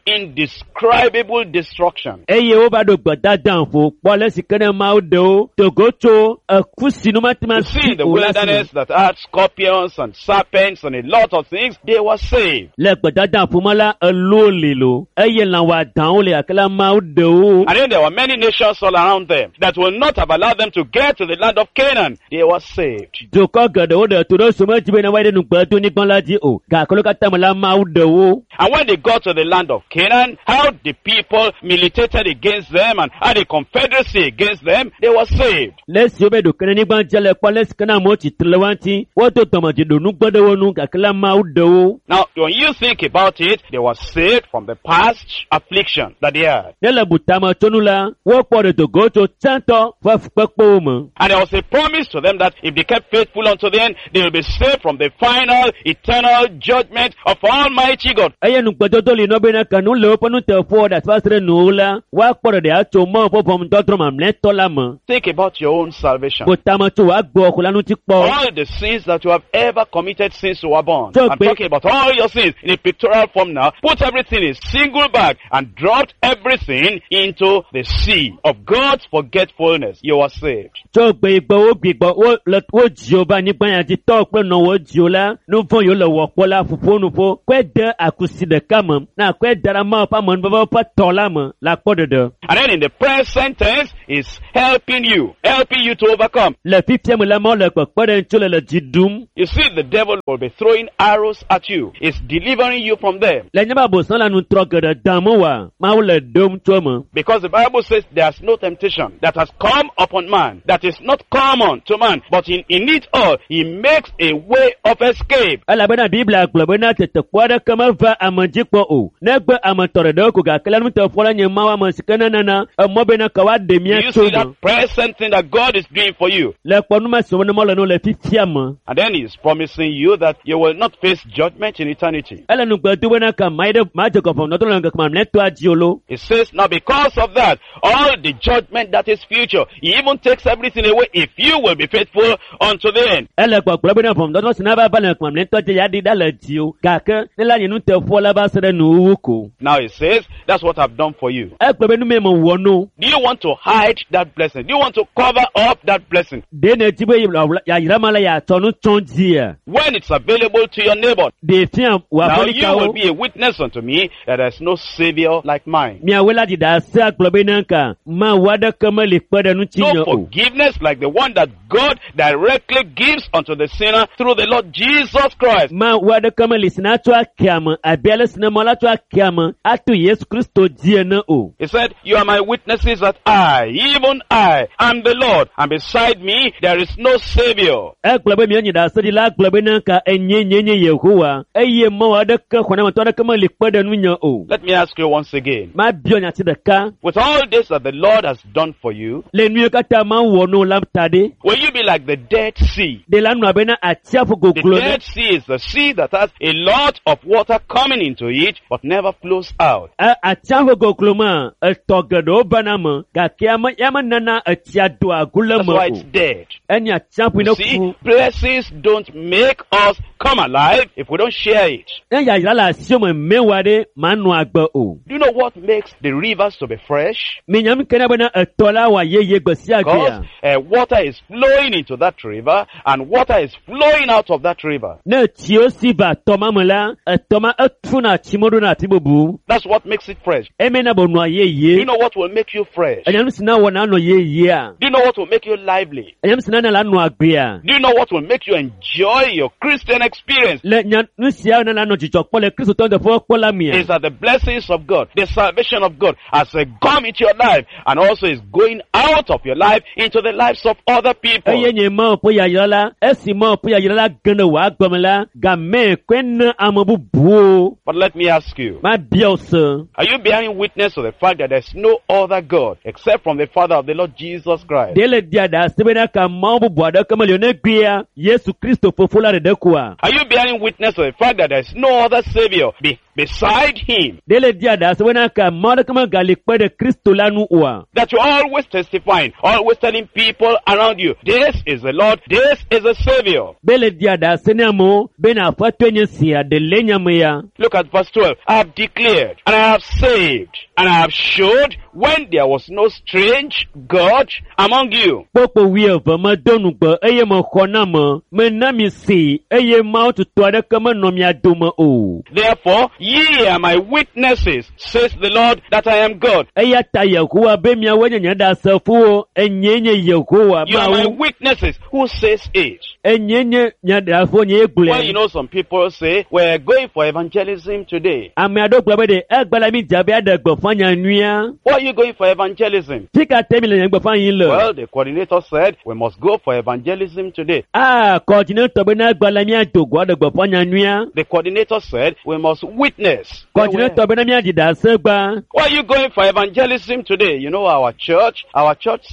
indescribable destruction. Eye wova ɖo gbedada ƒo kpɔ ale si ke ne Mawu ɖe wo dogo tso eku si nu mate ŋu You see, asi in the o la si me. wilderness that had scorpions and serpents and a lot of things, they were saved. Le gbedada ƒo me la, eluwo li lo eye lã wɔadãwo le gake la Mawu ɖe wo. And then there were many nations all around them that will not have allowed them to get to the land of Canaan. They were saved. Dukɔ geɖewo ɖe to ɖe wo medzi bena woayi ɖe nugbedonyigba la dzi o gake wo katã me la Mawu ɖe wo. And when they got to the land of Canaan, how the people militated against them and had a confederacy against against them, they were saved. Le esiwo be ɖo ke ɖe anyigba dzi le kpɔ le si ke na amewo tsitre le woa ŋuti wodo dɔmedzoe ɖo nugbe ɖe wo nu gake la Mawu ɖe wo. Now, when you think about it, they were saved from the past affliction that they had. Ne le butame tso nu la wokpɔ ɖe dogo tso tsãtɔ ƒe fukpekpewo me. And there was a promise to them that if they kept faithful unto the end, they will be saved from the final, eternal judgment of Almighty God. Eye nugbedodo li nɔ bena ke nu le woƒe nuteƒewɔ ɖe asi va se ɖe nuwo la woakpɔ ɖeɖe atso Mawu ƒe ʋɔnudɔdrɔ̃ mamlɛtɔ la me. Think about your own salvation. Butame tso wò agbewɔxɔ la ŋuti kpɔ. All the sins that you have ever committed since you were born. So I'm ba- talking about all your sins in a pictorial form now. Put everything in single bag and dropped everything into the sea of God's forgetfulness. You are saved. Tso gbe yi gbe wo gbigbɔ wo le wo dziwo va anyigba ya dzi tɔwo kple nɔwo dziwo la nu vɔ̃ yiwo le wɔ kpɔ la ƒoƒo nuƒo kɔe de akusi ɖeka me na kɔe da ɖe Mawu ƒe amenuveve ƒe tɔ la me le akpɔ ɖeɖe. And then in the present tense is helping you to overcome. Le fifia me la Mawu le kpekpe ɖe ŋuti le le dzi ɖum. You see, the devil will be throwing arrows at you. It's delivering you from them. Le nye be abosam le anutrɔ geɖe dam wa Mawu le ɖom tso eme. Because the Bible says there's no temptation that has come upon man, that is not common to man, but in it all, he makes a way of escape. Elabena Biblia gblɔ bena tetekpɔ aɖeke meva ame dzi kpɔ o. Negbe ame tɔ ɖeɖewo ko gake la nuteƒe la nye Mawu ame si ke nenana emɔ bena ke woaɖe Do mía you tso see that me. present thing that God is doing for you? Le kpɔnuma si wɔm le no le fifia me. And then he's promising you that you will not face judgment in eternity. Ele nugbe do bena ke ma yi ɖe ma dze gɔvɔnudɔdrɔ̃ le ŋkeke mamlɛtɔa dzi o lo. He says, now because of that, all the judgment that is future, he even takes everything away if you will be faithful unto the end. Ele gbɔgblɔ bena ʋɔnudɔdrɔ̃ si nava va le ŋkeke mamlɛtɔa dzi ya ɖi ɖa le dzi o. Gake ne la nye nuteƒewɔla la va se ɖe nuwuwu ko. Now he says, that's what I've done for you. Egblɔ be nu mee mewɔ no. Do you want to hide that blessing? Do you want to cover up that blessing? Ɖe nèdi be yayra ma la yeatsɔ nu tsɔ dzia? When it's available to your neighbor, Ɖe fia wò now you will aƒelikawo. be a witness unto me that there's no savior like mine. Miawoe la ɖi ɖase agblɔ bena ka Mawu aɖeke meli kpe ɖe ŋutinye No o. forgiveness like the one that God directly gives unto the sinner through the Lord Jesus Christ. Mawu aɖeke meli si natsɔ ake ame abe ale si ne Mawu la tsɔ ake ame ato Yesu Kristo dzi ene o. He said, you are my witnesses that I, even I, am the Lord, and beside me there is no savior. Egblɔ be mienyi ɖaseɖila gblɔ bena ka enye nye nye Yehowa eye Mawu aɖeke xɔnametɔ aɖeke meli kpe ɖe ŋunye o. Let me ask you once again. Mabiɔ nyati ɖeka With all this that the Lord has done for you, le nu yiwo katã Mawu wɔ no la ta ɖe. will you be like the Dead Sea? Ɖe la nɔ abena atsiaƒu The goglo ɖe. Dead Sea is the sea that has a lot of water coming into it, but never flows out. E, atsiaƒu goglo me etɔ geɖewo bana me gake ame ya menana etsia doa agu le That's me why o. it's dead. Enye atsiaƒu You ne see, ku. blessings don't make us come alive if we don't share it. Ne yayra le asiwò me mewɔ ɖe manɔ agbe o. Do you know what makes the rivers to be fresh? Minyam ke na bena etɔ la wɔ yeye gbe sia Because gbea. water is flowing into that river and water is flowing out of that river. Ne tsiwo si va tɔ ma me la, etɔ ma etuna tsi me ɖona afi bubu. That's what makes it fresh. Eme na be nɔa Do yeye. you know what will make you fresh? Enya nu si na wɔ na nɔ yeyea. Do you know what will make you lively? Enya nu si na na la nɔ agbea. Do you know what will make you enjoy your Christian experience? Le nya nu sia na la nɔ dzidzɔ kpɔ le Kristotɔ teƒe kpɔ la mea. Is that the blessings of God, the salvation of God has come into your life and also is going out of your life into the lives of other people. Eye nye Mawu ƒe yayra la, esi Mawu ƒe yayra la ge ɖe wò agbe me la, game koe na ame bubuwo. But let me ask you, Mabia wò se. are you bearing witness to the fact that there's no other God except from the Father of the Lord Jesus Christ? Ɖe le dia ɖase bena ka Mawu bubu aɖeke meli o negbea Yesu Kristo fofo la ɖeɖe koa? Are you bearing witness to the fact that there's no other Savior beside Him? Ɖe le dia ɖase bena ka Mawu aɖeke megali kpe ɖe Kristo la ŋu oa? That you're always testifying, always telling people around you, this is the Lord, this is the Savior. Be le dia ɖase ne amewo bena Aƒetɔe nye sia ɖe le nya me ya. Look at verse 12. I have declared, and I have saved, and I have showed when there was no strange God among you. Kpokpo wuieve medo nugbe eye mexɔ na me, mena mi see eye Mawu tutɔ aɖeke menɔ mia dome o. Therefore, Ye are my witnesses, says the Lord, that I am God. Eya ta Yehowa be miawoe nye nye ɖasefowo, enyee nye Yehowa You are my Mawu. witnesses. Who says it? Enyee nye nye ɖasefo nyee Well, you gblɔe. know, some people say, we're going for evangelism today. Ame aɖewo gblɔ be ɖe egbe la mi dze be aɖe gbeƒã nya nyuia. Why are you going for evangelism? Fi ka te mi le nye gbeƒã yim le? Well, the coordinator said, we must go for evangelism today. Aa, kɔdzinetɔ be ne egbe la míado go aɖe gbeƒã nya nyuia. The coordinator said, we must witness. Kɔdzinetɔ be ne míaɖi ɖase gba. Why are you going for evangelism today? You know, our church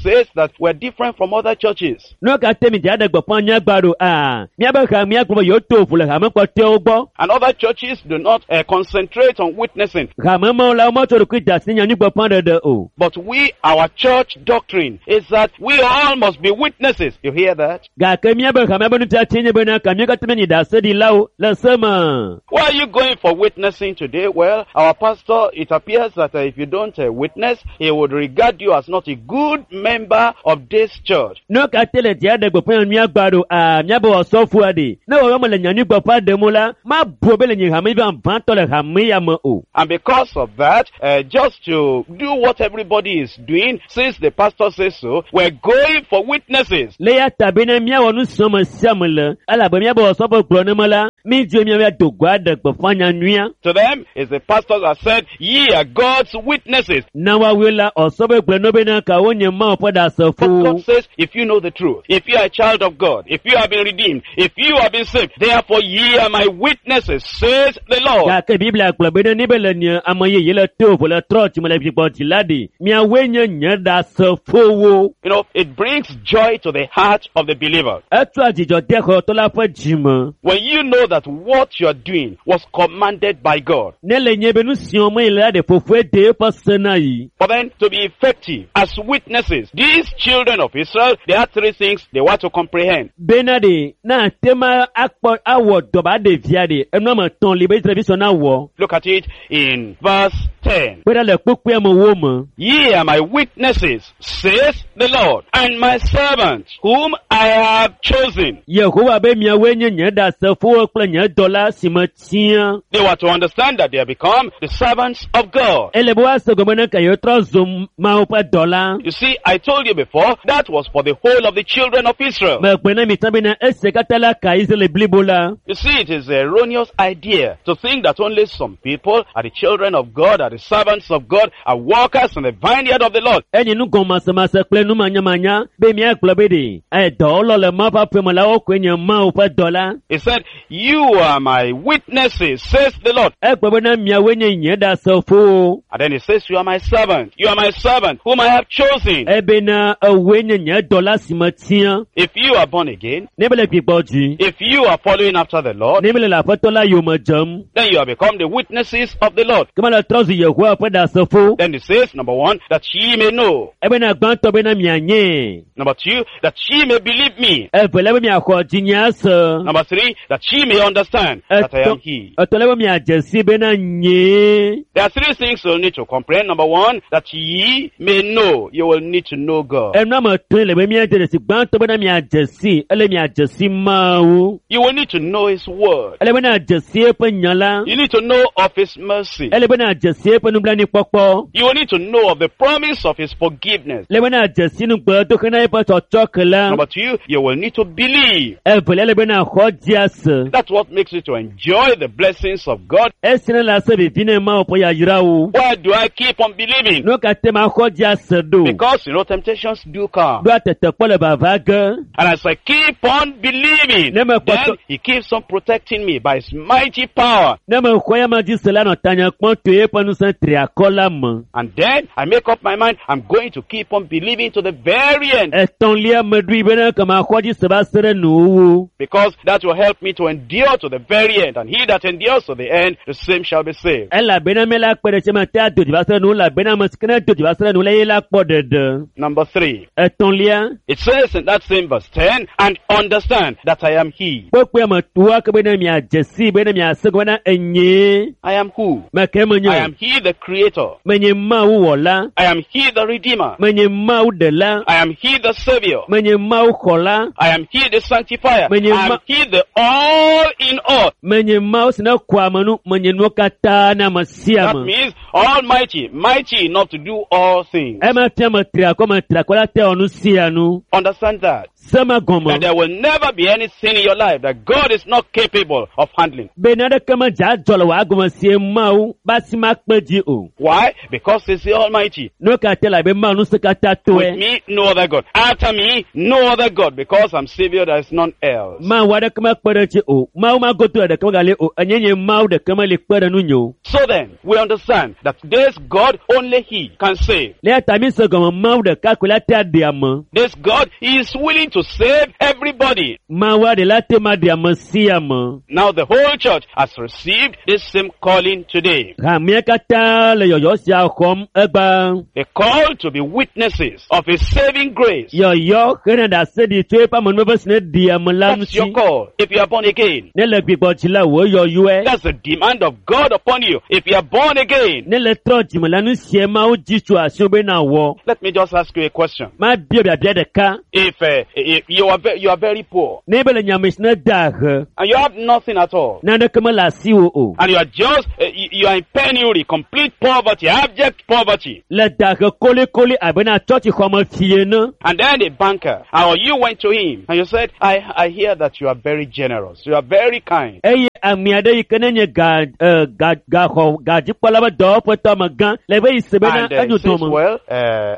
says that we're different from other churches. Nu ka te mi dze aɖe gbeƒã nya gba ɖo? Aa, míabe ha míagblɔ be yewoto ʋu le hame kpɔtɔewo gbɔ. And other churches do not concentrate on witnessing. Hame mawo la wometsɔ ɖokui de asi nyanyui gbeƒã ɖeɖe o. But we, our church doctrine is that we all must be witnesses. You hear that? Gake míabe hamea be nufiafia nye bena ka mí katã míanyi ɖaseɖilawo le se me. Why are you going for witnessing today? Well, our pastor, it appears that if you don't witness, he would regard you as not a good member of this church. Nu ka te le dzia ɖe gbeƒã nyanyuia gba ɖo? Aa, míabe osɔfoa ɖe. Ne wɔwɔ me le nyanyui gbeƒã ɖem o la, mabu be le nye hame vavãtɔ le hame ya me o. And because of that, just to do what everybody is doing, since the pastor says so, we're going for witnesses. Le ya ta bena míawɔ nu si ame sia ame le, elabe míabe osɔfo gblɔ ne me la, mídzo míabe do go aɖe gbeƒã nyanyuia. To them, it's the pastor that said, ye are God's witnesses. Na woawoe la, osɔfoe gblɔ ne bena ka wonye Mawu ƒe But God ɖasefo. says, if you know the truth, if you are a child of God, if you have been redeemed, if you have been saved, therefore ye are my witnesses, says the Lord. Gake Biblia gblɔ bena ne be le nye ame yeye le to vo le trɔ dzime le vigbɔ dzi la ɖe, miawoe nye nye ɖasefowo. You know, it brings joy to the heart of the believer. Etsɔa dzidzɔ de xɔtɔ la ƒe dzime. When you know that what you are doing was commanded by God. Ne le nye be nu si wɔm yi le la ɖe fofoe de eƒe se na yi. But then, to be effective as witnesses, these children of Israel, there are three things they want to comprehend. Bena ɖe, na ate ma akpɔ awɔ dɔ ba ɖevia ɖe, enua me tɔn li be Israelvi sɔ na wɔ. Look at it in verse 10. Kpe ɖe le kpukpuia me wo me. Ye are my witnesses, says the Lord, and my servant, whom I have chosen. Yehowa be miawoe nye nye ɖasefowo kple nye dɔla si me tia. They were to understand that they have become the servants of God. Ele be woase gɔme ne ke yewotrɔ zu Mawu ƒe dɔla. You see, I told you before, that was for the whole of the children of Israel. Megblɔ na mi tsã bena esia katã la ka Israel blibo la. You see, it is an erroneous idea to think that only some people are the children of God, are the servants of God, are workers in the vineyard of the Lord. Enye nugɔmasemase kple numanyamanya be míagblɔ be ɖe edɔwɔlɔ le Mawu ƒe aƒeme la wokoe nye Mawu ƒe dɔla. He said, You are my witnesses, says the Lord. Egblɔ bena miawoe nye nye ɖasefowo. And then he says, You are my servant. You are my servant, whom I have chosen. Ebena ewoe nye nye dɔla si me tia. If you are born again, Ne be le gbigbɔ dzi, if you are following after the Lord, ne be le aƒetɔ la yome dzem, then you have become the witnesses of the Lord. ke mele trɔ zu Yehowa ƒe ɖasefo. Then he says, number one, that ye may know. Ebena gbãtɔ bena mianye. Number two, that ye may believe me. Evelia be miaxɔ dzinye ase. Number three, that ye may understand that I am he. Etɔ̃lia be miadze si bena nyee. There are three things you'll need to comprehend. Number one, that ye may know. You will need to know God. Enua me tɔe le be miadze ɖe si gbãtɔ bena miadze si, ele miadze si Mawu. You will need to know his word. Ele bena adze si eƒe nya la. You need to know of his mercy. Ele bena adze si eƒe nublanuikpɔkpɔ. You will need to know of the promise of his forgiveness. Ele bena adze si nugbedoxe na eƒe tsɔtsɔke la. Number two, you will need to believe. Evelia ele bena xɔ dzi ase. That's what makes you to enjoy the blessings of God. Esi ne le ase vivi ne Mawu ƒe yayrawo. Why do I keep on believing? Nu ka te ma xɔ dzi ase ɖo? Because, you know, temptations do come. Ɖoa tetekpɔ le vava ge. And as I keep on believing, Ne me then kpɔtɔ he keeps on protecting me by his mighty power. ne me xɔ ya ma dzi se la nɔ tanye kpɔm to eƒe ŋusẽ triakɔ la me. And then I make up my mind, I'm going to keep on believing to the very end. Etɔ̃lia meɖoe bena ke maxɔ dzi se va se ɖe nuwuwu. Because that will help me to endure to the very end. And he that endures to the end, the same shall be saved. Elabena mi la kpe ɖe sia me te ado dzi va se ɖe nuwu elabena ame si ke ne do dzi va se ɖe nuwu la ye la kpɔ ɖeɖe. Number three, Etɔ̃lia it says in that same verse 10, and understand that I am he. kpekpea me toa ke bena miadze si bena miase gɔme bena enyee. I am who? Me ke menye. I am he the creator. Menye Mawu wɔla. I am he the redeemer. Menye Mawu ɖela. I am he the savior. Menye Mawu xɔla. I am he the sanctifier. Menye I am he the all all in all. Menye Mawu si ne kɔa ame nu, menye nuwo katã na ame sia That ame. means almighty, mighty enough to do all things. Ema fia me tri akɔ, me tri akɔ la te wɔ nu sia nu. Understand that. Se ma gɔme. That there will never be any sin in your life that God is not capable of handling. Be naneke medze adzɔ le wò agome sie Mawu be asi makpe dzi o. Why? Because He's the Almighty. Nu ka te le abe Mawu ŋusẽ katã With toe. me, no other God. After me, no other God. Because I'm Savior, there is none else. Mawu aɖeke mekpe ɖe edzi o. Mawu magodo ɖeke megali o. Enye nye Mawu ɖeke meli kpe ɖe nunye o. So then, we understand that this God, only He can save. Le eya ta mi se gɔme Mawu ɖeka koe la te aɖe ame. This God, He is willing to save everybody. Mawu aɖe la te ma ɖe ame sia ame. Now the whole church has received this same calling today. Hamea katã le yɔyɔ sia xɔm egba. The call to be witnesses of His saving grace. Yɔyɔ hena ɖase ɖi tso eƒe amenuveve si ne ɖi ame la That's your ŋuti. call. If you are born again. Ne le gbigbɔ dzi la wò yɔyɔe. That's the demand of God upon you. If you are born again. Ne le trɔ dzime la nu sie Mawu dzi tso asiwò be nawɔ. Let me just ask you a question. Mabia biabia ɖeka. If you are you are very poor Ne be le nyame si ne da ahe, and you have nothing at all, naneke mele asiwò o. and you are just you are in penury, complete poverty, abject poverty, Le da ahe kolikoli abe na tsɔtsixɔme fie ene. and then a banker or you went to him and you said, I hear that you are very generous, you are very kind. Eye ame aɖe yi ke ne nye ga ga gaxɔ gadzikpɔla be dɔwɔƒetɔ amegã le be yi se bena And he enyo says, dɔme. well,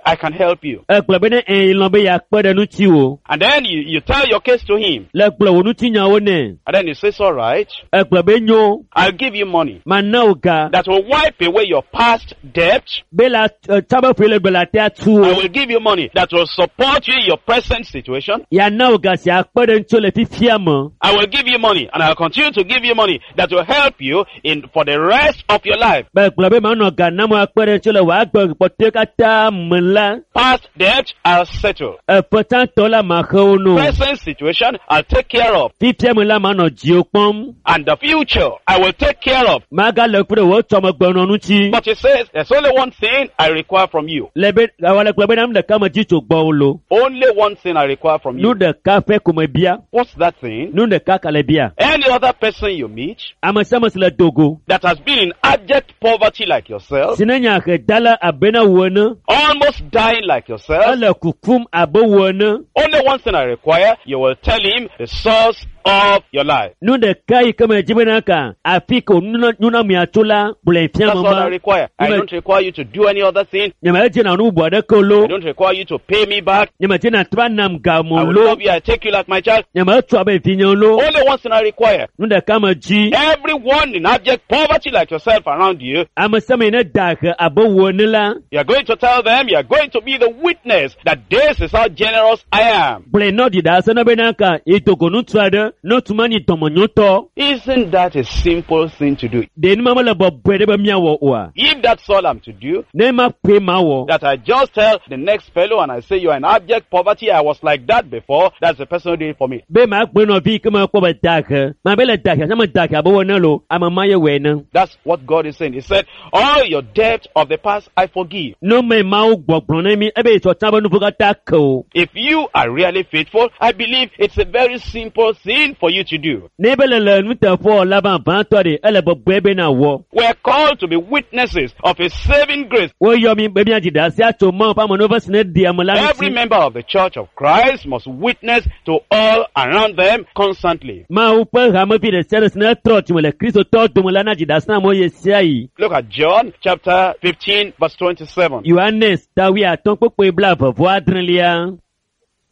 I can help you. Egblɔ bena ẽ lɔ̃ be yeakpe ɖe ŋutiwò. And then you tell your case to him. Le gblɔ wò ŋutinyawo nɛ. And then he says, all right, Egblɔ be nyo, I'll give you money mana wò ga. that will wipe away your past debt. Be la tsɔ be ƒoe le gbe le atea tu I wò. will give you money that will support you in your present situation. Yeana wò ga si akpe ɖe ŋutiwò le fifia me. I will give you money and I'll continue to give you money that will help you in for the rest of your life. Be gblɔ be manɔ ga nam wò akpe ɖe ŋutiwò le wò agbe kpɔtɔe katã me la, Past debt, I'll settle. eƒe tsãtɔ la maxe wo no. Present situation, I'll take care of. Fifia me la manɔ dziwò kpɔm. And the future, I will take care of. Magale ku ɖe wò tsɔmegbenɔ ŋuti. But he says, there's only one thing I require from you. Le be awɔ le gblɔ be nu ɖeka me dzi tso gbɔwò lo. Only one thing I require from Nu you. ɖeka ƒe ko me bia. What's that thing? Nu ɖeka ka le bia. Any other person you meet Ame sia ame si le dogo. that has been in abject poverty like yourself, Si ne nye ahedala abe na wò ene. almost dying like yourself, Ele kukum abe wò ene. only one thing I require, you will tell him the source of your life. Nu ɖeka yi ke me dzi bena ka afi ke nunɔamea tso la gblɔe fia That's me all I ma. require. I Amen. don't require you to do any other thing. Nyemedzi na nu bubu aɖeke o lo. I don't require you to pay me back. Nyemedzi na trɔ nam I game will lo. love you. I take you like my child. Nyemetso abe vinye lo. Only one thing I require. Nu ɖeka me dzi. Everyone in abject poverty like yourself around you, Ame sia ame yi ne da ahe abe wò ene la, you are going to tell them, you are going to be the witness that this is how generous I am. gblɔe nɔ ɖi ɖase na bena ka yi dogo ŋutsu aɖe ne ŋutsu ma nyi dɔmenyotɔ. Isn't that a simple thing to do? Ɖe nu ma mele bɔbɔe ɖe be míawɔ oa? If that's all I'm to do, Ne ma koe mawɔ. that I just tell the next fellow and I say you are in abject poverty, I was like that before, that's the person who did it for me. Be magblɔe nɔvi yi ke mekpɔ be da ahe. Mabe le da ahe, ame da ahe abe wò ene lo, ame ma ye wɔe ne. That's what God is saying. He said, all your debt of the past I forgive. Nu me Mawu gbɔgblɔ na mi ebe yi tsɔtsã be nuvo katã ke o. If you are really faithful, I believe it's a very simple thing for you to do. Ne be le le nuteƒewɔla vavãtɔ ɖe, ele bɔbɔe be nawɔ. We are called to be witnesses of His saving grace. Woyɔ mi be míadzi ɖase atso Mawu ƒe amenuveve si ne ɖi ame la Every ŋuti. member of the Church of Christ must witness to all around them constantly. Mawu ƒe hamevi ɖe sia ɖe si ne trɔ dzime le Kristotɔwo dome la nadzi ɖase na amewo ɣe sia ɣi. Look at John chapter 15 verse 27. Yohanes ta wuiatɔ̃ kpukpui blaeve vɔ adrelia.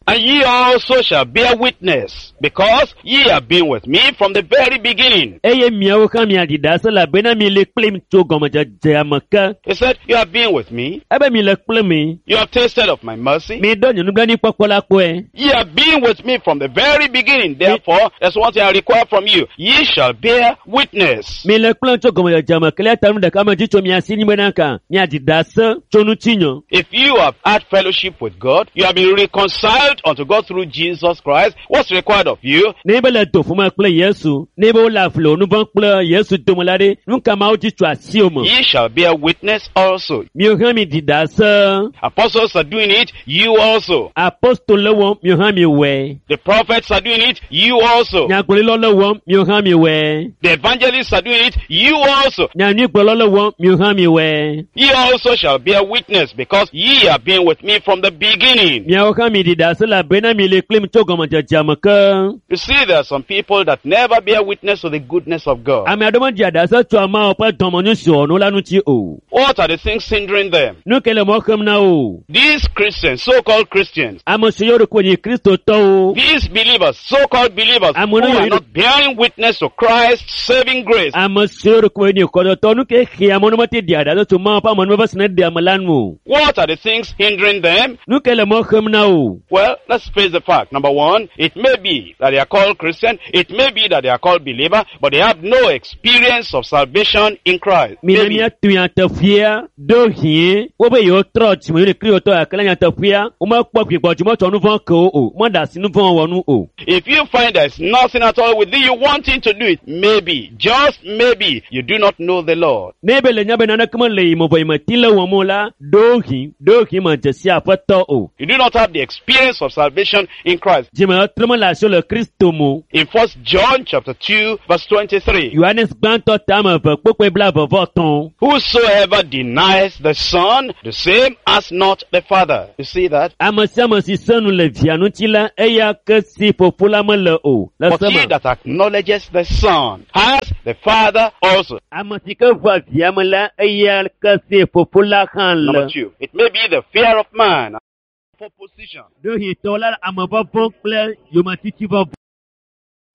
And ye also shall bear witness, because ye have been with me from the very beginning. Eye miawo hã miaɖi ɖase elabena mi le kplim tso gɔmedzedzea me ke. He said, You have been with me. Ebe mi le kpli mi. You have tasted of my mercy. Mi ɖo nye nublanuikpɔkpɔ la kpɔe. Ye have been with me from the very beginning. Therefore, there's one thing I require from you. Ye shall bear witness. Mi le kplɔm tso gɔmedzedzea me ke le ta nu ɖeka me dzi tso mia si nyi bena ka miaɖi ɖase tso ŋutinye. If you have had fellowship with God, you have been reconciled unto God through Jesus Christ, what's required of you? Ne be le do ƒome kple Yesu, ne be wole afli wo nu vɔ̃ kple Yesu dome la ɖe, nu ka mawo dzi tso asiwò me? Ye shall bear witness also. Miwo hã mi ɖi ɖase. Apostles are doing it, you also. Apostol le wɔm, miwo hã mi wɔe. The prophets are doing it, you also. Nyagblɔɖilɔ le wɔm, miwo hã mi wɔe. The evangelists are doing it, you also. Nyanyuigblɔlɔ le wɔm, miwo hã mi wɔe. Ye also shall bear witness, because ye have been with me from the beginning. Miawo hã mi ɖi ɖase elabena mi le kplim tso gɔmedzedzea me ke. You see, there are some people that never bear witness to the goodness of God. Ame aɖewo meɖia ɖase tso ameawo ƒe dɔmenyo si wɔnu la ŋuti o. What are the things hindering them? Nu ke le mɔ xem na wo? These Christians, so-called Christians, Ame siwo ɖo nyi Kristotɔwo, these believers, so-called believers, I'm who gonna are read- not bearing witness to Christ's saving grace, ame siwo ɖo nyi kɔdɔtɔ, nu ke xea amewo ne mete ɖia ɖase tso Mawu ƒe amenuveve si ne ɖe ame la nu o. what are the things hindering them? Nu ke le mɔ xem na wo? Well, let's face the fact. Number one, it may be that they are called Christian, it may be that they are called believer, but they have no experience of salvation in Christ. Mina Maybe. míatu nyateƒea ɖo hĩe wobe yewo trɔ dzime yewo ne Kristotɔ gake le nyateƒea womekpɔ gbigbɔdzimɔ tsɔ nu vɔ̃ ke wo o, meɖe asi nu vɔ̃ wɔ nu o. If you find there's nothing at all within you wanting to do it, maybe, just maybe, you do not know the Lord. Ne be le nya be naneke mele yi me vɔ yi meti le wɔm o la, ɖo hĩ, ɖo hĩ medze si Aƒetɔ o. You do not have the experience of salvation in Christ. Dzime trɔ mele asiwò le Kristo me o. In 1 John chapter 2 verse 23, Yohanes gbãtɔ tame eve kpokpoe blaeve vɔ etɔ̃. whosoever denies the Son, the same has not the Father. You see that? Ame sia ame si se nu le via ŋuti la, eya ke si fofo la mele o. Le But se he me. that acknowledges the Son has the Father also. Ame si ke ʋua via me la, eya ke si fofo la hã Number le. two, it may be the fear of man for position. Ɖohitɔ la ame vɔvɔ̃ kple yometiti vɔvɔ̃.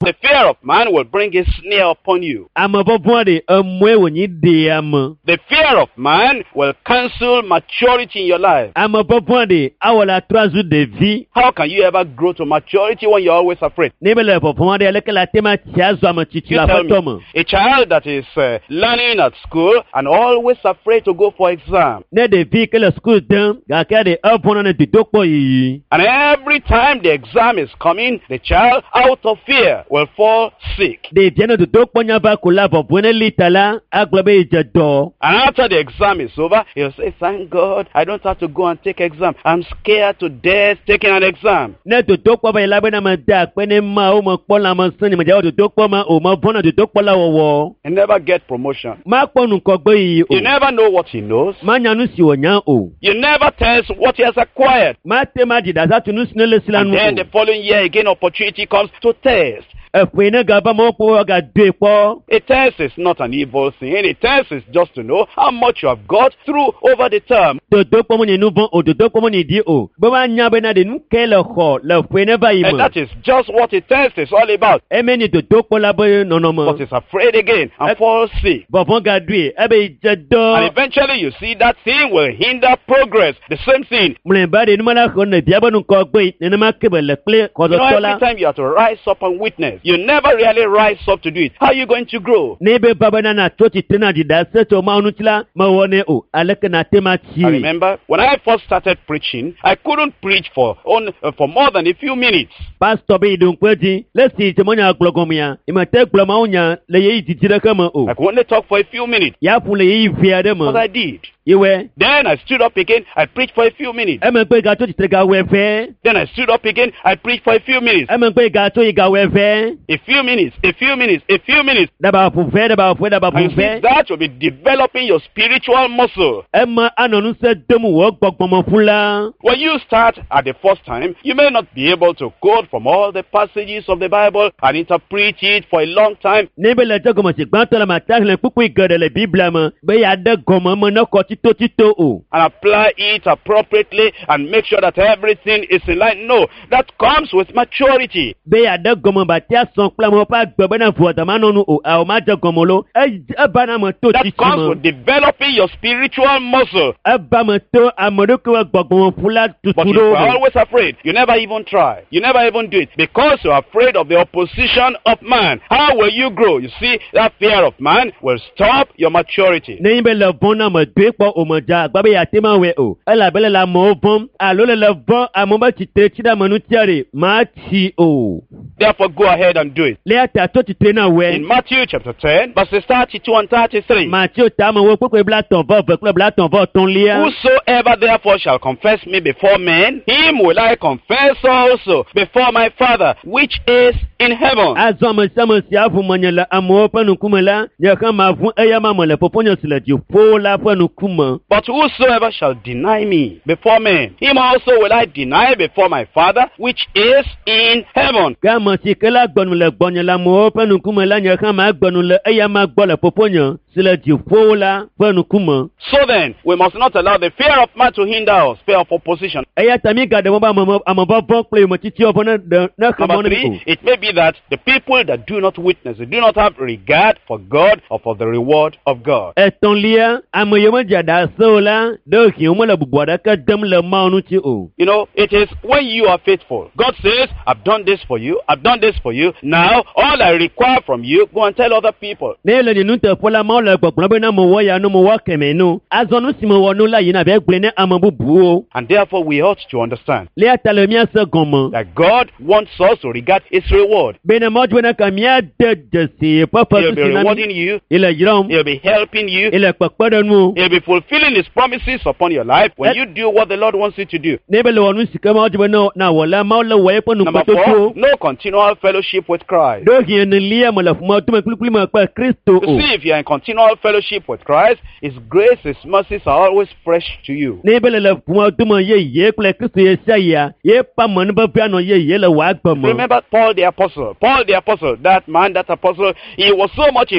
The fear of man will bring a snare upon you. Ame vɔvɔ̃ ɖe emɔe wònyi ɖea ame. The fear of man will cancel maturity in your life. Ame vɔvɔ̃ ɖe awɔ la trɔ azu ɖevi. How can you ever grow to maturity when you're always afraid? Ne be le vɔvɔ̃ ɖe aleke la te ma tsi azɔ ame tsitsi You le tell aƒetɔ me, me. a child that is learning at school and always afraid to go for exam. Ne ɖevi ke le suku dem gake ɖe evɔ̃na ne dodokpɔ yiyi. And every time the exam is coming, the child, out of fear, will fall sick. Ɖevia ne dodokpɔ nya va ko la vɔvɔ̃ ne li ta la agblɔ be yedze dɔ. And after the exam is over, he'll say, thank God, I don't have to go and take exam. I'm scared to death taking an exam. Ne dodokpɔ va yi la bena mede akpe ne mawo mekpɔ lãmesẽ nye medze wɔ dodokpɔ ma o mevɔ̃na dodokpɔ la wɔwɔ. He never get promotion. Makpɔ ŋgɔgbe yiyi o. You never know what he knows. Manya nu si wònya o. You never test what he has acquired. Mate ma dzi ɖasa tu nu si ne le si la And nu then o. the following year, again, opportunity comes to test. Eƒe ne gava mɔkpɔ woagadoe kpɔ. A test is not an evil thing. A test is just to know how much you have got through over the term. Dodokpɔ menye nu vɔ̃ o, dodokpɔ menye ɖi o. Be woanya bena ɖe nu ke le xɔ le ƒe ne va yi And me. that is just what a test is all about. Eme nye dodokpɔ la be nɔnɔme. But he's afraid again and falls sick. Vɔvɔ̃ gaɖoe ebe dze And dɔ. eventually you see that thing will hinder progress. The same thing. Mlɔeba ɖe numela xɔ ne via be ŋgɔgbe nenema ke be le kple You know, kɔdɔtɔ every la. time you have to rise up and witness, you never really rise up to do it. How are you going to grow? Ne be va bena natso tsitre na dzi ɖase tso Mawu ŋuti la, mewɔnɛ o. Aleke nate ma I tsi? remember when I first started preaching, I couldn't preach for more than a few minutes. Pastor be yi ɖo ŋku edzi le si dze menya gblɔ gɔmea, nyemete gblɔ Mawu nya le ɣeyiɣi didi ɖeke me o. I could only talk for a few minutes. Ya ƒu le ɣeyiɣi vi aɖe But me. I did. Yewɔe. Then I stood up again. I preached for a few minutes. Emegbe gatso tsitre gawɔe vɛ. Then I stood up again. I preached for a few minutes. Emegbe gatso yi gawɔe vɛ. A few minutes, a few minutes, a few minutes. Ɖaba ƒu vɛ, ɖaba ƒu, ɖaba And you ƒu see, vɛ. that will be developing your spiritual muscle. Ema anɔ ŋusẽ dom wò gbɔgbɔmeƒu la. When you start at the first time, you may not be able to quote from all the passages of the Bible and interpret it for a long time. Ne be le dze gɔme si gbãtɔ la mate xlẽ kpukpui geɖe le Biblia me be yeaɖe gɔme me ne kɔ tsitotsito o. And apply it appropriately and make sure that everything is in line. No, that comes with maturity. Be yeaɖe gɔme batia sɔn kple amewo ƒe agbe bena ʋuadama nɔ nu o, awo madze gɔme lo. Eva na ame to That tsitsi comes me. with developing your spiritual muscle. Eva me to ame ɖokui ƒe gbɔgbɔmeƒu la But tutu if ɖo you're me. always afraid, you never even try. You never even do it. Because you're afraid of the opposition of man. How will you grow? You see, that fear of man will stop your maturity. Ne nyi be le vɔ̃ na me doe kpɔ kpɔ o me dze agba be yeate ma wɔe o elabe le le amewo vɔ̃m alo le le vɔ̃ amewo be tsitre tsi ɖe ame ŋutia ɖe matsi o. Therefore, go ahead and do it. Le ya ta tso tsitre na wɔe. In Matthew chapter 10, verses 32 and 33. Mateo ta ame wo kpekpe 32 kple 33lia. Whosoever therefore shall confess me before men, him will I confess also before my Father which is in heaven. Azɔ ame sia ame si aʋu menye le amewo ƒe ŋkume la, nye hã maʋu eya ma me le fofonye si le dziƒo la ƒe ŋkume. But whosoever shall deny me before men, him also will I deny before my Father which is in heaven. Ke ame si ke la gbe nu le gbɔnye le amewo ƒe ŋkume la, nye hã magbe nu le eya ma gbɔ le fofonye si le dziƒo la ƒe ŋkume. So then, we must not allow the fear of man to hinder us, fear of opposition. Eya ta mígaɖe mɔ be ame amevɔvɔ̃ kple yometsitsiwo vɔ ne ɖe ne xe mɔ Number na mí o. three, it may be that the people that do not witness, they do not have regard for God or for the reward of God. Etɔ̃lia, ame yiwo medze ɖase o la, ɖewohĩ womele bubu aɖeke dem le Mawu ŋuti o. You know, it is when you are faithful. God says, I've done this for you, I've done this for you. Now, all I require from you, go and tell other people. Ne ele nye nuteƒe la, Mawu le gbɔgblɔm bena mewɔ ya nu, mewɔ kemɛ nu. Azɔ nu si mewɔ nu la yina be gblɔe ne ame bubuwo. And therefore, we ought to understand Le ya ta le míase gɔme that God wants us to regard His reward. bena Mawu di bena ka míade dzesi yeƒe He'll fetu be si na mí. rewarding you, Ele yram, He'll be helping you, ele kpekpe ɖe nu. He'll be fulfilling His promises upon your life when you do what the Lord wants you to do. Ne be le wɔ nu si ke Mawu di be ne nawɔ la, Mawu le wɔ eƒe Number four, nukpɔtotowo. no continual fellowship with Christ. Ɖewohĩ enelia me le ƒometome kplikpli me kple Kristo You o. see, if you are in continual fellowship with Christ, His grace, His mercies are always fresh to you. Ne be le le ƒometome yeye kple Kristo ye sia yia, yeƒe amenuveve anɔ yeye le wò agbe me. Remember Paul the Apostle. Paul the Apostle, that man, that apostle, he was so much in